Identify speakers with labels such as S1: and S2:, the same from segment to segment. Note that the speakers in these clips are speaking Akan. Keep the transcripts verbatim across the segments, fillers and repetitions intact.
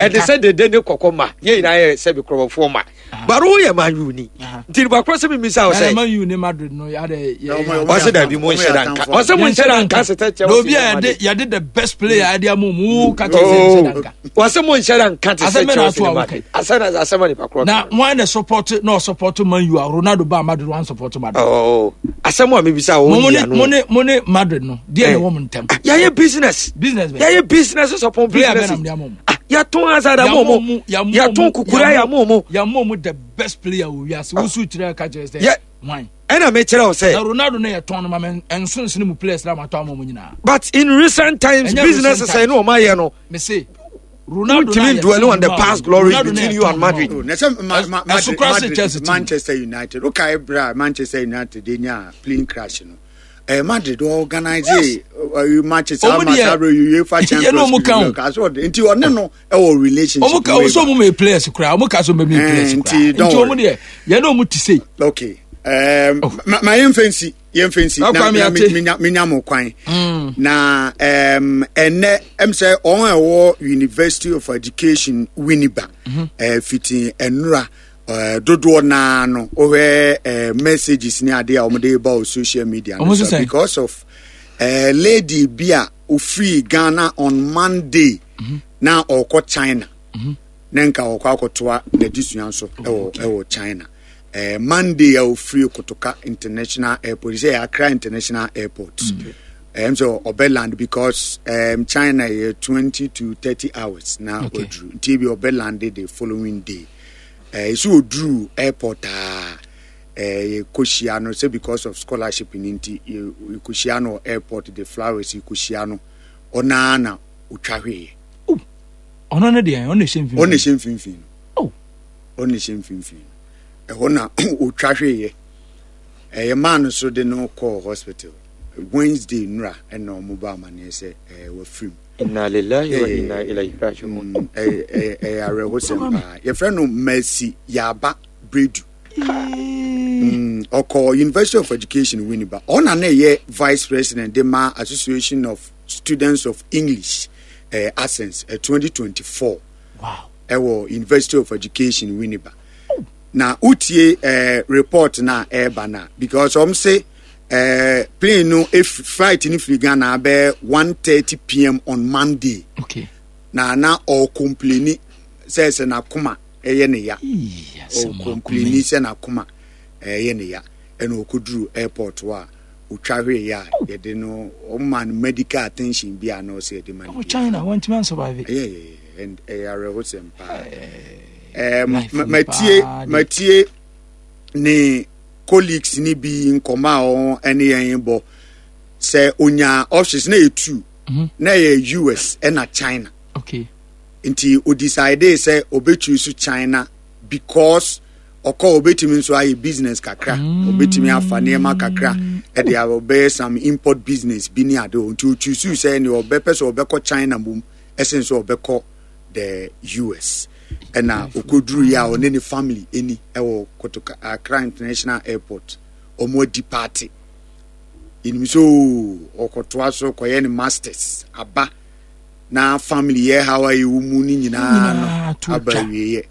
S1: Ɛde sɛ dede ne kɔkɔ ma yɛn nyinaa yɛ sɛbi kurɔbɔfoɔ ma, baro yɛ Man U ni, nti nipa korɔ sɛ mi misa sɛ
S2: Man U ne Madrid no yade
S1: yɛ ɔsɛ dabi mo nhyɛ da nka, ɔsɛ mo nhyɛ da nka sɛ tɛ Chelsea.
S2: Obi a yɛde yɛde the best player yɛde ama mu ka kyerɛ sɛ nhyɛ da nka.
S1: Ɔsɛ mo nhyɛ da nka te sɛ Chelsea ne Madrid, asɛ na asɛm a nipa korɔ
S2: na wɔn na support na ɔsupport Man U a Ronaldo ba Madrid wɔn support Madrid.
S1: Oh, asɛm a mi bisa wɔn
S2: yi ano. mo ne mo ne Madrid no deɛ na ɛwɔ mo ntɛm.
S1: Yɛyɛ business.
S2: Business bɛ.
S1: Yɛyɛ business sɔpɔn business. Yɛtɔn Hazard ama ɔmo, yɛtɔn kukura yɛ ama ɔmo.
S2: Yàmú ɔmo the best player wò wiase, wosu kyerɛ ka kyerɛ sɛ wan.
S1: Ɛna mi kyerɛ o sɛ.
S2: Na Ronaldo ne yɛ tɔn no ma mɛ nso nsini mu players na ma tɔn ama ɔmo nyinaa.
S1: But in recent times, business sɛ ɛni ɔmo ayɛ no.
S2: Mese Ronaldo
S1: na yɛ dwelling on the past glory between you and Madrid.
S3: Na sɛ ma ma Madrid Madrid Manchester United o ka ebra Manchester United de nya plane crash no, eh, Madrid organize yes. uh, Manchester ama sábẹ UEFA Champions League kaso ɔde nti ɔne no ɛwɔ relationship.
S2: Ɔmo ka ɔsɔ ɔmo ma players kura, ɔmo ka so ɔmo ma players kura, nti ɔmo deɛ yɛn na ɔmo ti se.
S3: Okay, um, oh. ma ma yɛn fɛn si yɛn fɛn si na na minya minya mo kwan mm. na um, ɛnɛ ɛm sɛ ɔn ɛwɔ University of Education Winneba mm -hmm. uh, fiti ɛnura uh, dodoɔ naa no wohwɛ uh, messages ne adeɛ a wɔde ba wɔ social media no so because of uh, lady bi a ofiri Ghana on Monday mm -hmm. na ɔkɔ China mm -hmm. na nka ɔkɔ akɔtoa n'adesua nso ɛwɔ ɛwɔ China. uh, Monday a ofiri Kotoka International Airport, sɛ Accra International Airport ɛm sɛ ɔbɛ land because um, China yɛ twenty to thirty hours na okay. Ɔduru nti ebi ɔbɛ land the following day. Ɛsɛ uh, ɔduru airport a yɛkɔhyia no sɛ because of scholarship no nti yɛkɔhyia no airport, the flowers yɛkɔhyia no, ɔnaa na ɔtwa hweeɛ.
S2: Ɔno ne deɛ ɔno hyɛ mfimfini,
S3: ɔno hyɛ mfimfini no, ɔno hyɛ mfimfini no, ɛhɔ na ɔtwa hweeɛ. Ɛyɛ maa no so de no kɔɔ hospital Wednesday nura, ɛna ɔmo ba amaneɛ sɛ ɛɛ wafirim.
S1: Inna lillahi wa inna ilayhi raji'un.
S3: Ɛyɛ ɛyɛ awerɛhosɛm paa. Yɛfrɛ no Mercy Yaba Bredu. Ɔkɔ University of Education Winneba. Ɔna na ɛyɛ vice president de ma Association of Students of English eh, Accents eh, twenty twenty-four.
S2: Wow.
S3: Ɛwɔ University of Education Winneba. Na wotie eh, report na ɛreba na because ɔm se eh, plane no if flight no firi Ghana abɛɛ one thirty p m on Monday.
S2: Okay.
S3: Na na ɔcomplaini sɛ sɛ n'akoma ɛyɛ ne ya, ɔcomplaini sɛ n'akoma ɛyɛ ne ya, ɛna ɔkɔduru airport hɔ a ɔtwa hwee yɛ a yɛde no ɔma no medical attention bi a na ɔsɛ yɛde ma no.
S2: China wɔntumi ansurvive.
S3: Ɛyɛ ɛyɛ ɛyɛ awerɛhosɛm paa. Ɛɛ matie matie ne colleagues ni bi nkɔmɔ a wɔn ɛne yɛn bɔ sɛ onya options na yɛ two, na yɛ U S ɛna China.
S2: Okay.
S3: Nti o decide sɛ obetwi so China because ɔkɔ obetumi nso ayɛ business kakra, obetumi afa nneɛma kakra ɛde a ɔbɛyɛ some import business bi ne ade o, nti otwi so sɛ nea ɔbɛpɛ sɛ ɔbɛkɔ China mom ɛsen sɛ ɔbɛkɔ the U S. Ɛna okoduru yi a ɔne ne family ɛni ɛwɔ Kotoka Accra International Airport, ɔmo adi party enim so ɔkɔtoa so kɔyɛ ne masters aba na family yɛ hawa yi wɔ mu ne nyinaa no aba awieɛ.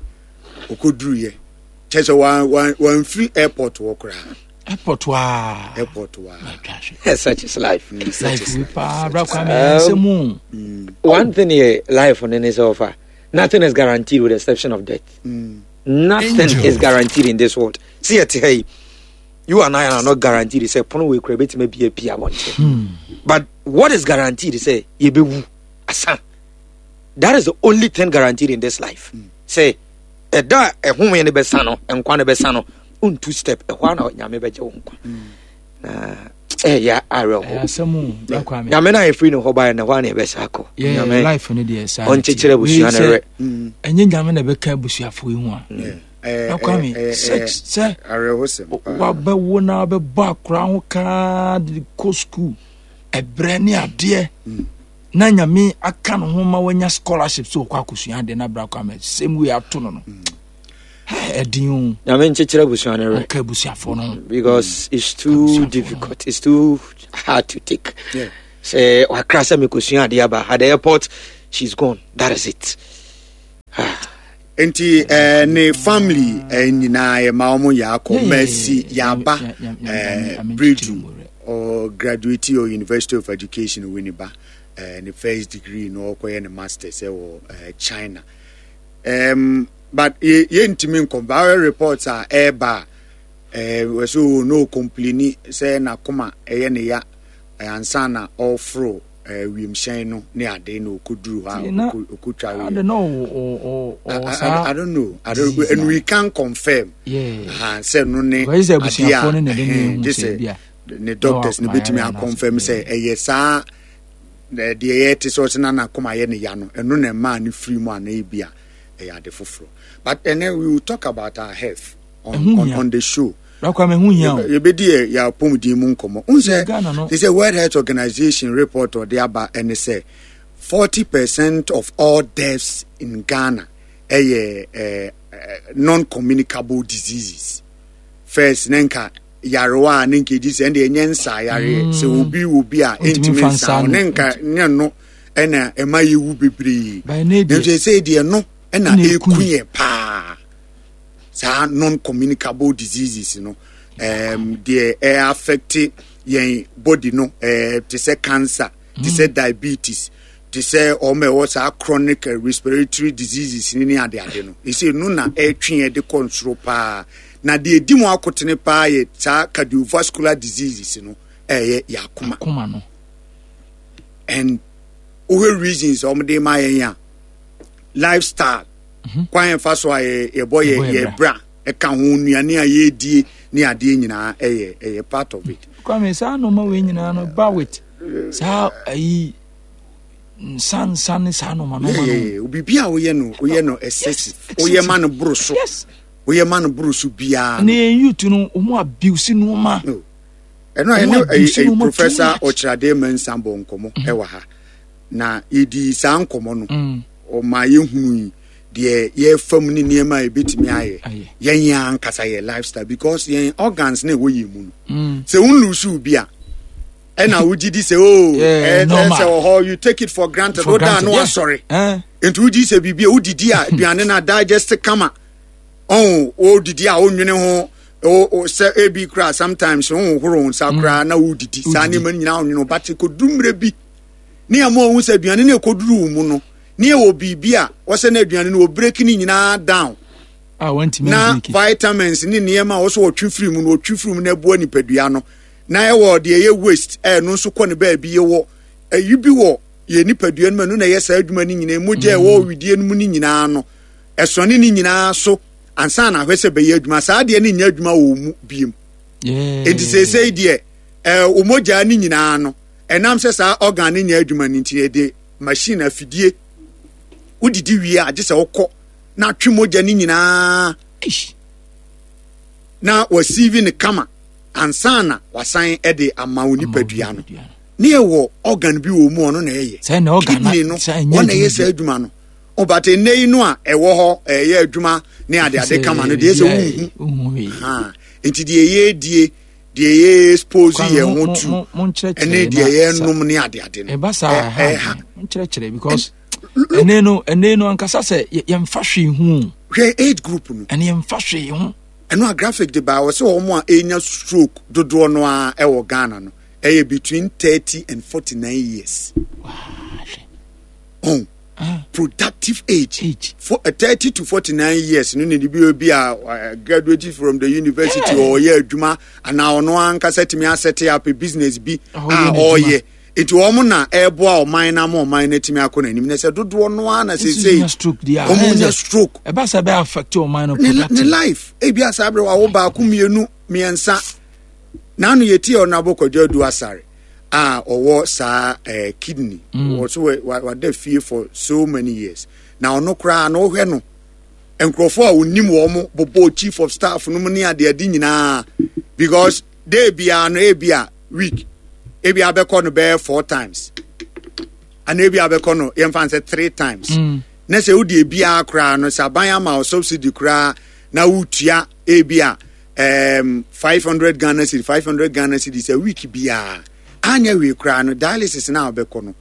S3: Okoduru yɛ kyɛ sɛ wan wan wanfiri airport wɔ koraa.
S2: Airport waa.
S3: Airport waa.
S1: Such is life.
S3: Mm, such
S2: is life paa, bra Kwame nsɛm.
S1: One thing here, life on any so nothing is guaranteed with the exception of death. Mm. Nothing Angel. is guaranteed in this world. See it, hey, you and I are not guaranteed. Say, pono we create me be a pia. But what is guaranteed is say, yebewu asa. That is the only thing guaranteed in this life. Mm. Say, ɛda ɛhome no bɛsa no, nkwa no bɛsa no, wontu step ɛhɔ a na Nyame bɛgye wo nkwa na ɛyɛ awerɛho. Nyame no a yɛfiri ne hɔ baeɛ no, hɔ a na yɛbɛsa akɔ.
S2: Nyame
S1: ɔnkyekyerɛ abusua no werɛ.
S2: Ɛnyɛ Nyame na ɛbɛka abusuafoɔ yi ho a na Kwame sɛ sɛ wabɛwo na wabɛbɔ akora ho kaa de kɔ sukuu ɛbrɛ ne adeɛ na Nyame aka no ho ma wanya scholarship sɛ ɔkɔ akɔsua adeɛ na bra Kwame same way ato no no ɛdin o.
S1: Nyame nkyekyerɛ abusua no werɛ.
S2: Ɔka abusuafoɔ no ho.
S1: Because it's too difficult, it's too hard to take. Sɛ wakra sɛ mekɔsua adeɛ aba at the airport, she's gone, that is it.
S3: Nti eh, ne family eh, nyinaa yɛma wɔn yɛ akɔ Mercy Yaba eh, Bredu or graduate or University of Education Winneba, eh, ne first degree no ɔkɔyɛ ne masters ɛwɔ eh, China. Um, but yɛntumi nkɔmpa reports a ɛreba a eh, wɔsɛ no complaini sɛ n'akoma ɛyɛ ne ya ansa na ɔforo wiemhyɛn no ne ade na ɔkɔduru hɔ a ɔkɔtwa. I don't know, I don't, and we can confirm sɛ no ne adeɛ a gye sɛ ne doctors no bɛtumi aconfirm sɛ ɛyɛ saa deɛ yɛte sɛ ɔsɛ na n'akoma yɛ ne ya no, ɛno na ɛmaa ne firi mu anaa ebi a ɛyɛ ade foforɔ. But ɛnɛ we will talk about our health on, on, on the show. Yɛbɛdi yɛ yɛ apɔmuden mu nkɔmmɔ n sɛ te sɛ World Health Organization report ɔde aba ɛne sɛ forty percent of all deaths in Ghana ɛyɛ ɛɛ non-communicable diseases. First ne nka yarewa a ne nka edi sɛ ɛnde ɛnyɛ nsa yareɛ sɛ obi wɔ bi a ɛntumi nsa ne nka nyɛ no ɛna ɛma yɛwu bebree, nso ɛsɛ deɛ no ɛna ɛku yɛ paa, saa non-communicable diseases no, um, deɛ ɛ affect yɛn body no, uh, te sɛ cancer, te sɛ mm. diabetes, te sɛ ɔmo ɛwɔ saa chronic respiratory diseases ne ne adeade no, ɛsɛ no na ɛtwe yɛn de kɔ nsoro paa. Na deɛ edi mu akotene paa yɛ saa cardiovascular diseases no, ɛyɛ yɛ akoma.
S2: Akoma no.
S3: And wohwɛ reasons a wɔde ma yɛn a, lifestyle mhm. kwan yɛn fa so a yɛbɔ yɛ yɛ bra ɛka ho, nnuane a yɛredie ne adeɛ nyinaa ɛyɛ ɛyɛ part of it.
S2: Kwame, saa nneɛma wei nyinaa no ba with saa ayi nsa nsa ne saa nneɛma nneɛma
S3: no. Biribi a woyɛ no, woyɛ no excessive, woyɛ ma no boro so, woyɛ ma no boro so biara.
S2: Ne yɛn youth no, wɔn abuse nneɛma.
S3: Ɛno a ɛne ɛyi Professor Ɔkyerɛade Mensah bɔ nkɔmɔ mhm. ɛwɔ ha na yɛdi saa nkɔmɔ no, mm. ɔma yɛhunu yi deɛ yɛfa mu ne nneɛma a yɛbɛtumi ayɛ yɛn yɛn ankasa yɛ lifestyle, because yɛn organs na ɛwɔ yɛn mu no, mm. sɛ wonlose bi a, ɛna wogye di sɛ o ɛsɛ wɔ hɔ, you take it for granted. Woda no asɔre nti wogye sɛ biribi a wodidi a, aduane no a digest kama, ɔn wodidi a wonwene ho sɛ ebi kura sometimes wohohoro nsa mm. koraa na wodidi saa nneɛma no nyinaa wonwene ho, but kɔduru mmerɛ bi ne ɛma ɔhu sɛ aduane no ɛkɔduru wo mu no ne ɛwɔ biribi a wɔsɛ no aduane no wɔbreak no nyinaa down na vitamins ne nneɛma a wɔsɛ wɔtwe firi mu no, wɔtwe firi mu na ɛboa nipadua no, na ɛwɔ deɛ ɛyɛ waste, ɛno nso kɔ ne baabi. Yɛwɔ ɛyi bi wɔ yɛ nipadua no mu, ɛno na ɛyɛ saa adwuma no nyinaa. Mogya ɛwɔ widie no mu no nyinaa no, ɛsɔne ne nyinaa so ansa na ahwɛ sɛ bɛyɛ adwuma. Saa deɛ no nyɛ adwuma wɔ mu biem, enti seesei deɛ ɛɛ wo mogya no nyinaa no, ɛnam sɛ saa organ no nyɛ adwuma no nti, yɛde machine afidie wodidi wie a, gye sɛ wokɔ na atwe mogya no nyinaa na wasiivi no kama ansa na wasan de ama wo nipadua no. Ne yɛwɔ organ bi wɔ mu, ɔno na ɛyɛ kidney no, ɔna ɛyɛ saa adwuma no. Ɔbata nnɛ yi no a ɛwɔ hɔ ɛyɛ adwuma ne ade ade kama no deɛ, sɛ wonhu nti deɛ yɛdie, deɛ yɛ expose yɛn ho tu ɛne deɛ yɛnom ne ade ade no.
S2: Ɛba saa ɛha nkyerɛkyerɛ, because ɛnɛ no ɛnɛ no ankasa sɛ yɛmfa hwee ho.
S3: Hwɛ age group no.
S2: Ɛne yɛmfa hwee ho.
S3: Ɛno a graphic de baa wɔ sɛ wɔn a ɛnya stroke dodoɔ no a ɛwɔ Ghana no ɛyɛ between thirty and forty nine years. Oh, productive age, age. For, uh, thirty to forty-nine years no ne bi obi a uh, graduated from the university or ɔyɛ adwuma anaa ɔno ankasa tumi aset up a business bi a ɔyɛ, nti wɔn na ɛreboa ɔman na ama ɔman no atumi akɔ n'anim, na sɛ dodoɔ no ara na seesei wɔn nya stroke.
S2: Ɛba sɛ ɛbɛ affect ɔman no.
S3: Ne life ebi asa abere wa wo baako, mmienu, mmiɛnsa. N'ano yɛ ti a ɔno abɔkɔdwa adu asare a ɔwɔ saa ɛɛ eh, kidney mm. wɔ so wada fie for so many years, na ɔno koraa na ɔhwɛ no, nkurɔfoɔ a onim wɔn bobɔ chief of staff no mu ne adeade nyinaa, because day biara no, ebi a week ebi abɛkɔ no bɛyɛ four times ana ebi abɛkɔ no yɛmfa n sɛ three times mm. Na sɛ wodi ebiara koraa no, sɛ aban ama wo subsidy koraa na wotua ebi a um, five hundred Ghana cedi, five hundred Ghana cedi sɛ week biara, anyɛ hwee koraa no, dialysis na wobɛkɔ no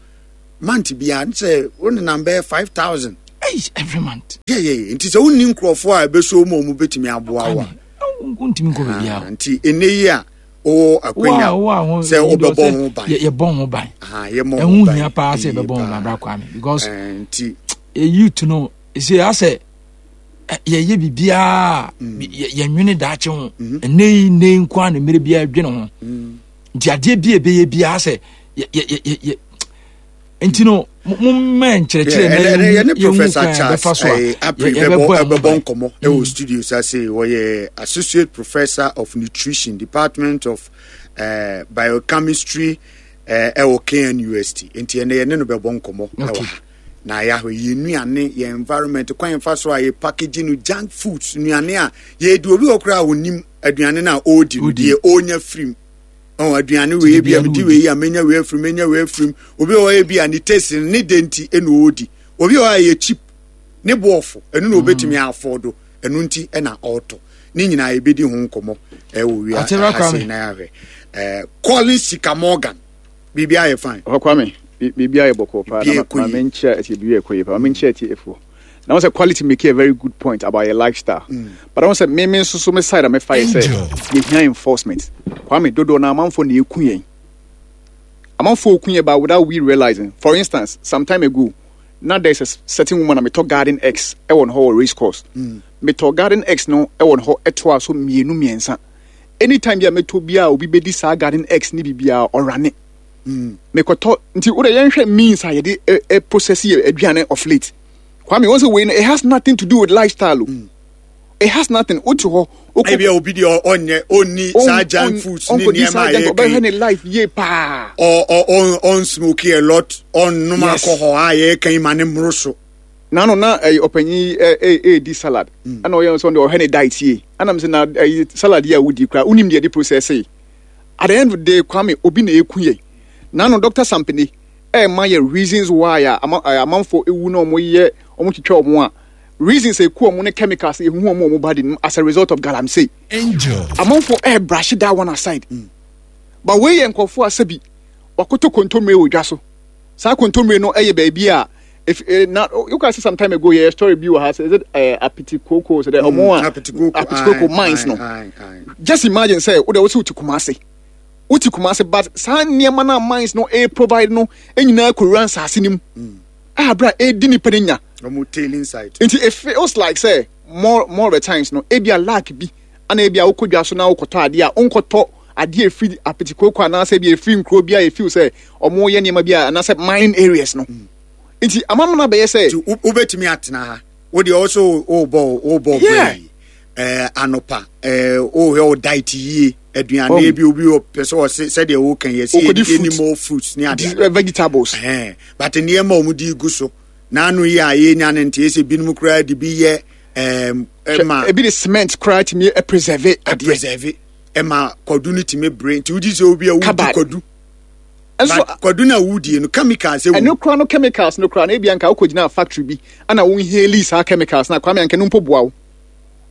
S3: month biara sɛ wo nenam bɛyɛ five thousand.
S2: Hey, every month.
S3: Yeah, yeah, yeah. Nti sɛ wonni nkurɔfoɔ a ɛbɛso mu a ɔmo bɛtumi aboa wo a.
S2: Wontumi nkɔ baabiara.
S3: Ah, nti ɛnɛ yi a wowɔ akwanya sɛ wobɛbɔ ho ban.
S2: Yɛbɔ ho ban. Ɛho hia paa sɛ yɛbɛbɔ ho ban, bra Kwame, because
S3: eh, nti
S2: youth no sɛ asɛ yɛyɛ biribiara mm. yɛnwene daakye ho. Mm-hmm. Ɛnɛ yi nnɛ yi nko a na mmerɛ biara dwene ho. Mm. Nti adeɛ bi a ɛbɛyɛ biara sɛ yɛ nti no mommɛ nkyerɛkyerɛ
S3: na yɛne Professor Charles Apri bɛbɔ nkɔmmɔ ɛwɔ mm. studio sa se wɔyɛ Associate Professor of Nutrition, Department of uh, Biochemistry ɛwɔ uh, K N U S T. Nti ɛnɛ yɛne no bɛbɔ nkɔmmɔ ɛwɔ ha na yɛahwɛ yɛn nnuane, yɛn environment, kwan yɛmfa so a yɛ package no, junk foods, nnuane a yɛdi. Obi wɔ koraa a onim aduane no a ɔredi no deɛ ɔrenya firim. Ɔn aduane wei bi a medi wei a menya wei afirim, menya wei afirim. Obi wɔ hɔ bi a ne taste no ne de nti ɛna ɔredi. Obi wɔ hɔ a yɛ cheap ne boɔfo, ɛno na obetumi mm. afford, ɛno nti ɛna ɔretɔ. Ne nyinaa yɛbɛdi ho nkɔmmɔ ɛwɔ wia ha sei na yɛahwɛ. Ɛɛ Collins Sika Morgan, biribi ayɛ fine.
S4: Ɔhɔ Kwame, biribi ayɛ bɔkɔɔ paa na ma menkyerɛ ɛti biribi ayɛ kɔ yie paa, ma menkyerɛ ɛti efoɔ na wɔn sɛ quality make a very good point about your lifestyle mm. But wɔn sɛ me me nso so me side a mefa yɛ sɛ yɛhia enforcement. Kwame, dodoɔ na amanfoɔ na eku yɛn, amanfoɔ eku yɛn but without we realizing. For instance, some time ago na there is a certain woman a metɔ garden eggs ɛwɔ ne hɔ wɔ race course mm. Metɔ garden eggs no ɛwɔ ne hɔ ɛtoa so mmienu mmiɛnsa. Anytime bi a metɔ bi a obi bɛdi saa garden eggs ne biribiara ɔrane mm. Mekɔtɔ nti wode yɛnhwɛ means a yɛde ɛ process yɛ aduane of late. Kwame, wɔn sɛ wei no, it has nothing to do with lifestyle o mm. It has nothing. Wote hɔ
S3: ebi a obi deɛ ɔnyɛ ɔnni saa junk foods ne nneɛma a yɛka
S4: ɔbɛhwɛ ne life yie paa.
S3: ɔ ɔ ɔn smoke a lot, ɔnnom alcohol a yɛka yi ma ne mmoro so.
S4: Nano na ɛyɛ ɔpanyin ɛ ɛ ɛɛdi salad ɛna ɔyɛ nso ɔde ɔhwɛ ne diet yie ɛna sɛ na ɛyɛ salad yi a wodi kura wonim deɛ de process yi. At the end of the day, Kwame, obi na eku yɛ. Nano Doctor Sampene ɛɛma yɛ reasons why a ama ɛɛ amanfoɔ ewu na wɔn yɛ wɔn twitwa wɔn a reasons eku wɔn ne chemicals ehuhu wɔn wɔn body no as a result of galamsey. Amanfoɔ ɛɛ brush that one aside mm. But wei yɛ nkurɔfoɔ a sɛbi wakoto kontomire wɔ dwa so. Saa kontomire no ɛyɛ baabi a if eh, na you can see some time ago yɛ story bi wɔ ha sɛ is it uh, Apiti Koko sɛ dɛ ɔmo a Apiti Koko mines no. Just imagine sɛ wo de wo sɛ wote Kumase, wote Kumase, but saa nneɛma no a mines no e provide no nyinaa kɔwura nsase no mu a abira edi nipa no nya.
S3: Ɔmo tailing site.
S4: Nti it feels like sɛ more more of the times no ebi a lack bi ana ebi a wokɔ dwa so na wokɔtɔ adeɛ a wonkɔtɔ adeɛ efiri Apiti Koko anaasɛ ebi efiri nkuro bi a efiw sɛ ɔmo yɛ nneɛma bi a anaasɛ mining areas no mm. Nti amamuna bɛyɛ sɛ.
S3: Nti wobɛtumi atena ha wo deɛ ɔso wobɔ wobɔ brɛ yi ɛɛ anopa ɛɛ wohwɛ wo diet yie, aduane bi obi pɛ sɛ ɔse sɛdeɛ woka yɛ sɛ yɛ more fruits ne adeɛ
S4: vegetables
S3: ɛɛ but nneɛma a wɔn de gu so n'ano yi a yɛnya no nti ɛsɛ binom koraa de bi yɛ ɛɛm
S4: ɛma ebi de cement koraa tumi preserve
S3: adeɛ preserve ɛma kwadu no tumi bere. Nti wogye sɛ obi a wodi kwadu
S4: nso
S3: kwadu no a wodie no chemicals ɛwɔ
S4: ɛno koraa no, chemicals no koraa no ebi anka wokɔ gyina factory bi ana wo inhale saa chemicals na Kwame anka no mpo boa wo.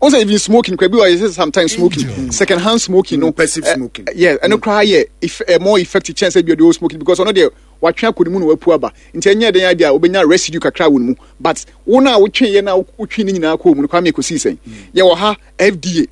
S4: Wɔn sɛ even smoking koraa bi wɔ yɛ sɛ sometimes smoking mm. second hand smoking no
S3: mm, passive uh, smoking.
S4: Yeah, ɛno mm. koraa yɛ if, uh, more effective kyɛn sɛ bi ɔde o smoking because ɔno deɛ watwe akɔ ne mu na wapu aba nti ɛnyɛ den adi a wobɛnya residue kakra wɔ ne mu, but wo na wotwe yɛ na wotwe ne nyinaa kɔɔ mu no, Kwame, kɔsii sɛn? Yɛwɔ ha F D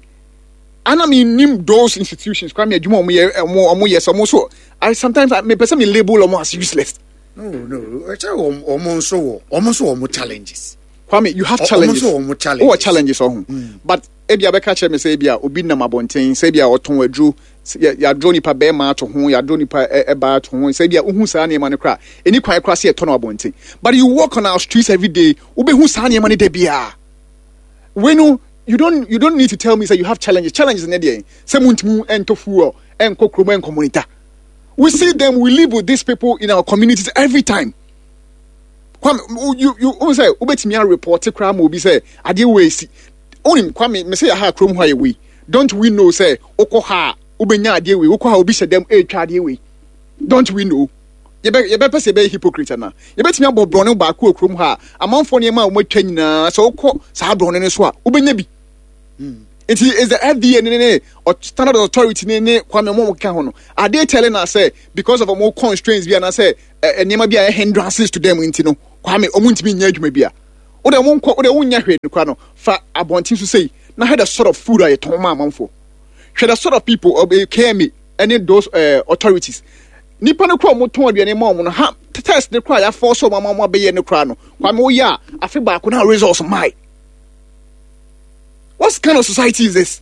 S4: A ana mi nim those institutions, Kwame, adwuma ɔmo yɛ ɔmo ɔmo yɛ sɛ ɔmo so I sometimes I mepɛ sɛ mi label ɔmo as useless.
S3: no no ɛkyɛ ɔmo nso wɔ ɔmo nso wɔ ɔmo challenges.
S4: Kwame, you have challenges.
S3: Ɔmo nso wɔ ɔmo challenges.
S4: Wɔ challenges ɔho, but ebi abɛka kyerɛ mi sɛ ebi a obi nam abɔnten sɛ ebi a ɔtɔn aduro, yɛaduro nipa bɛrima ato ho, yɛaduro nipa ɛbaa ato ho, sɛ ebi a wohu saa nneɛma no kora ɛni kwan kora sɛ yɛtɔ no abɔnten, but you walk on our streets every day, wobɛhu saa nneɛma no da biara. Wei no, you don't you don't need to tell me say you have challenges. Challenges ne deɛ sɛ muntumi ɛntɔ fuel ɛnkɔ kurom ɛnkɔ monitor. We see them, we live with these people in our communities every time. Kwame, you you wo sɛ wobɛtumi a report koraa ma obi sɛ adeɛ wɔ esi onim. Kwame, me sɛ yɛ ha kurom hɔ ayɛ wei. Don't we know sɛ wokɔ ha a wobɛnya adeɛ wei, wokɔ ha obi hyɛ dɛm ɛretwa adeɛ wei? Don't we know? Yɛbɛ yɛbɛpɛ sɛ yɛbɛyɛ hypocrite ana? Yɛbɛtumi abɔ borɔne baako wɔ kurom ha a amanfoɔ nneɛma a wɔatwa nyinaa sɛ wokɔ saa borɔne no so a wobɛnya bi. Nti is the F D A ne ne standard authority ne ne Kwame ɔmo keka ho no, are they telling us say because of ɔmo constraints bi anaasɛ nneɛma bi a ɛyɛ hindrances to them nti no, Kwame, ɔmo ntumi nyɛ adwuma bi a Wode monkɔ, wode wonyɛ hwee no koraa no, fa abɔnten so sei na hwɛ the sort of food a yɛtɔn ma amanfoɔ. Hwɛ the sort of people, uh, K M A ɛne those uh, authorities. Nipa no koraa a wɔtɔn aduane ma wɔn no ha, test ne koraa yɛafɔ so wɔn ama wɔn abɛyɛ no koraa no, Kwame, woyɛ a afe baako na results mae. What kind of society is this?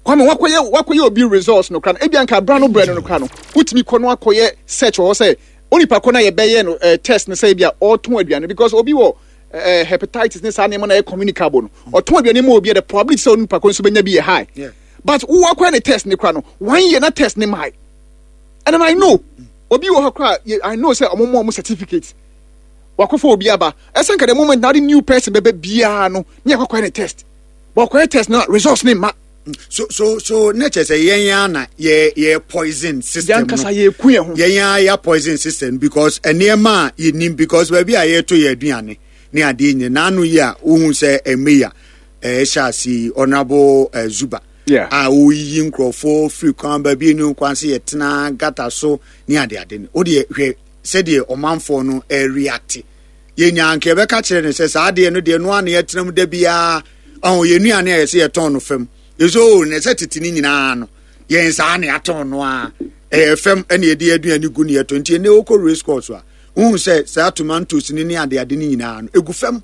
S4: Kwame, wakɔyɛ wakɔyɛ obi results no koraa no, ebi anka abira no brɛ no no koraa no, wotumi kɔ no akɔyɛ search wɔ hɔ sɛ onipa kɔ na yɛbɛyɛ no eh, test no sɛ ebi a ɔretɔn aduane, because obi wɔ eh, hepatitis ne saa nneɛma na ɛyɛ communicable no, ɔtɔn aduane ma obi a, the probability sɛ onipa kɔ nso bɛnya bi yɛ high.
S3: Yeah.
S4: But wo akɔyɛ ne test ne koraa no one year na test ne mae. And then I know obi wɔ hɔ koraa yɛ- I know sɛ ɔmo mo ɔmo certificate wakɔfɔ obi aba, ɛsɛ nka the moment na de new person bɛbɛ biara no ne akɔkɔyɛ ne test, but ɔkɔyɛ test na results ne ma.
S3: so so so ne kyerɛ sɛ yɛn ya na yɛ yɛ poison system no.
S4: Yɛn yɛ ku yɛn ho.
S3: Yɛn ya yɛ poison system, because nneɛma a yɛnim, because baabi a yɛto yɛ aduane ne adeɛ nyɛ n'ano yi a, wohu sɛ ɛmɛ yi a ɛhyɛ ase yi, Honourable uh, Zuba
S4: Yeah.
S3: a oyiyi nkurɔfoɔ firi kwan baabi enu kwan sɛ yɛtena gata so ne adeade no, o deɛ hwɛ sɛdeɛ ɔmanfoɔ no ɛreact. Yɛnya nka yɛbɛka kyerɛ no sɛ saa adeɛ no deɛ no a na yɛtena mu da biara ɔho yɛn nnuane a yɛsɛ yɛtɔn no fam, yɛsɛ o na ɛsɛ tete ne nyinaa no yɛn saa na yɛatɔn no a ɛyɛ fam, ɛna yɛde aduane gu ne yɛtɔn. Nti ɛnɛ wokɔ race course a, wohu sɛ saa tomatoes ne ne adeade no nyinaa no egu fam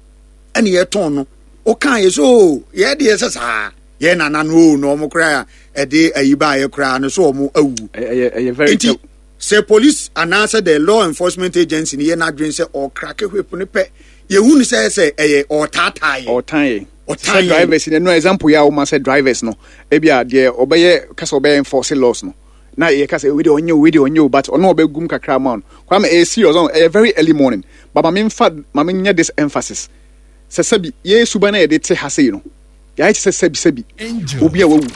S3: ɛna yɛtɔn no. Woka yɛ sɛ o yɛ deɛ sɛ saa yɛn nana no o na ɔmo koraa ɛde ayi baayɛ koraa no so ɔmo awu.
S4: Ɛyɛ ɛyɛ very
S3: Nti sɛ police anaasɛ the law enforcement agency ni yɛ n'adwene sɛ ɔcrack whip ne pɛ, yɛhu no sɛ sɛ ɛyɛ ɔtaataa yɛ.
S4: Ɔtan yɛ.
S3: Ɔtan
S4: sɛ
S3: yɛ.
S4: Drivers no, example yɛ a woma sɛ drivers no, ebi a deɛ ɔbɛyɛ kasa ɔbɛyɛ enforce laws no na yɛ kasa wei deɛ ɔnyɛ o, wei deɛ ɔnyɛ o, but ɔno ɔbɛgum kakra ma no. Kwame, ɛyɛ serious ɔn, ɛyɛ very early morning, but maame nfa maame nyɛ this emphasis sɛ sɛbi yɛ suban na yɛde te ha sei no, yɛayɛ te sɛ sɛbi sɛbi obi a wawu.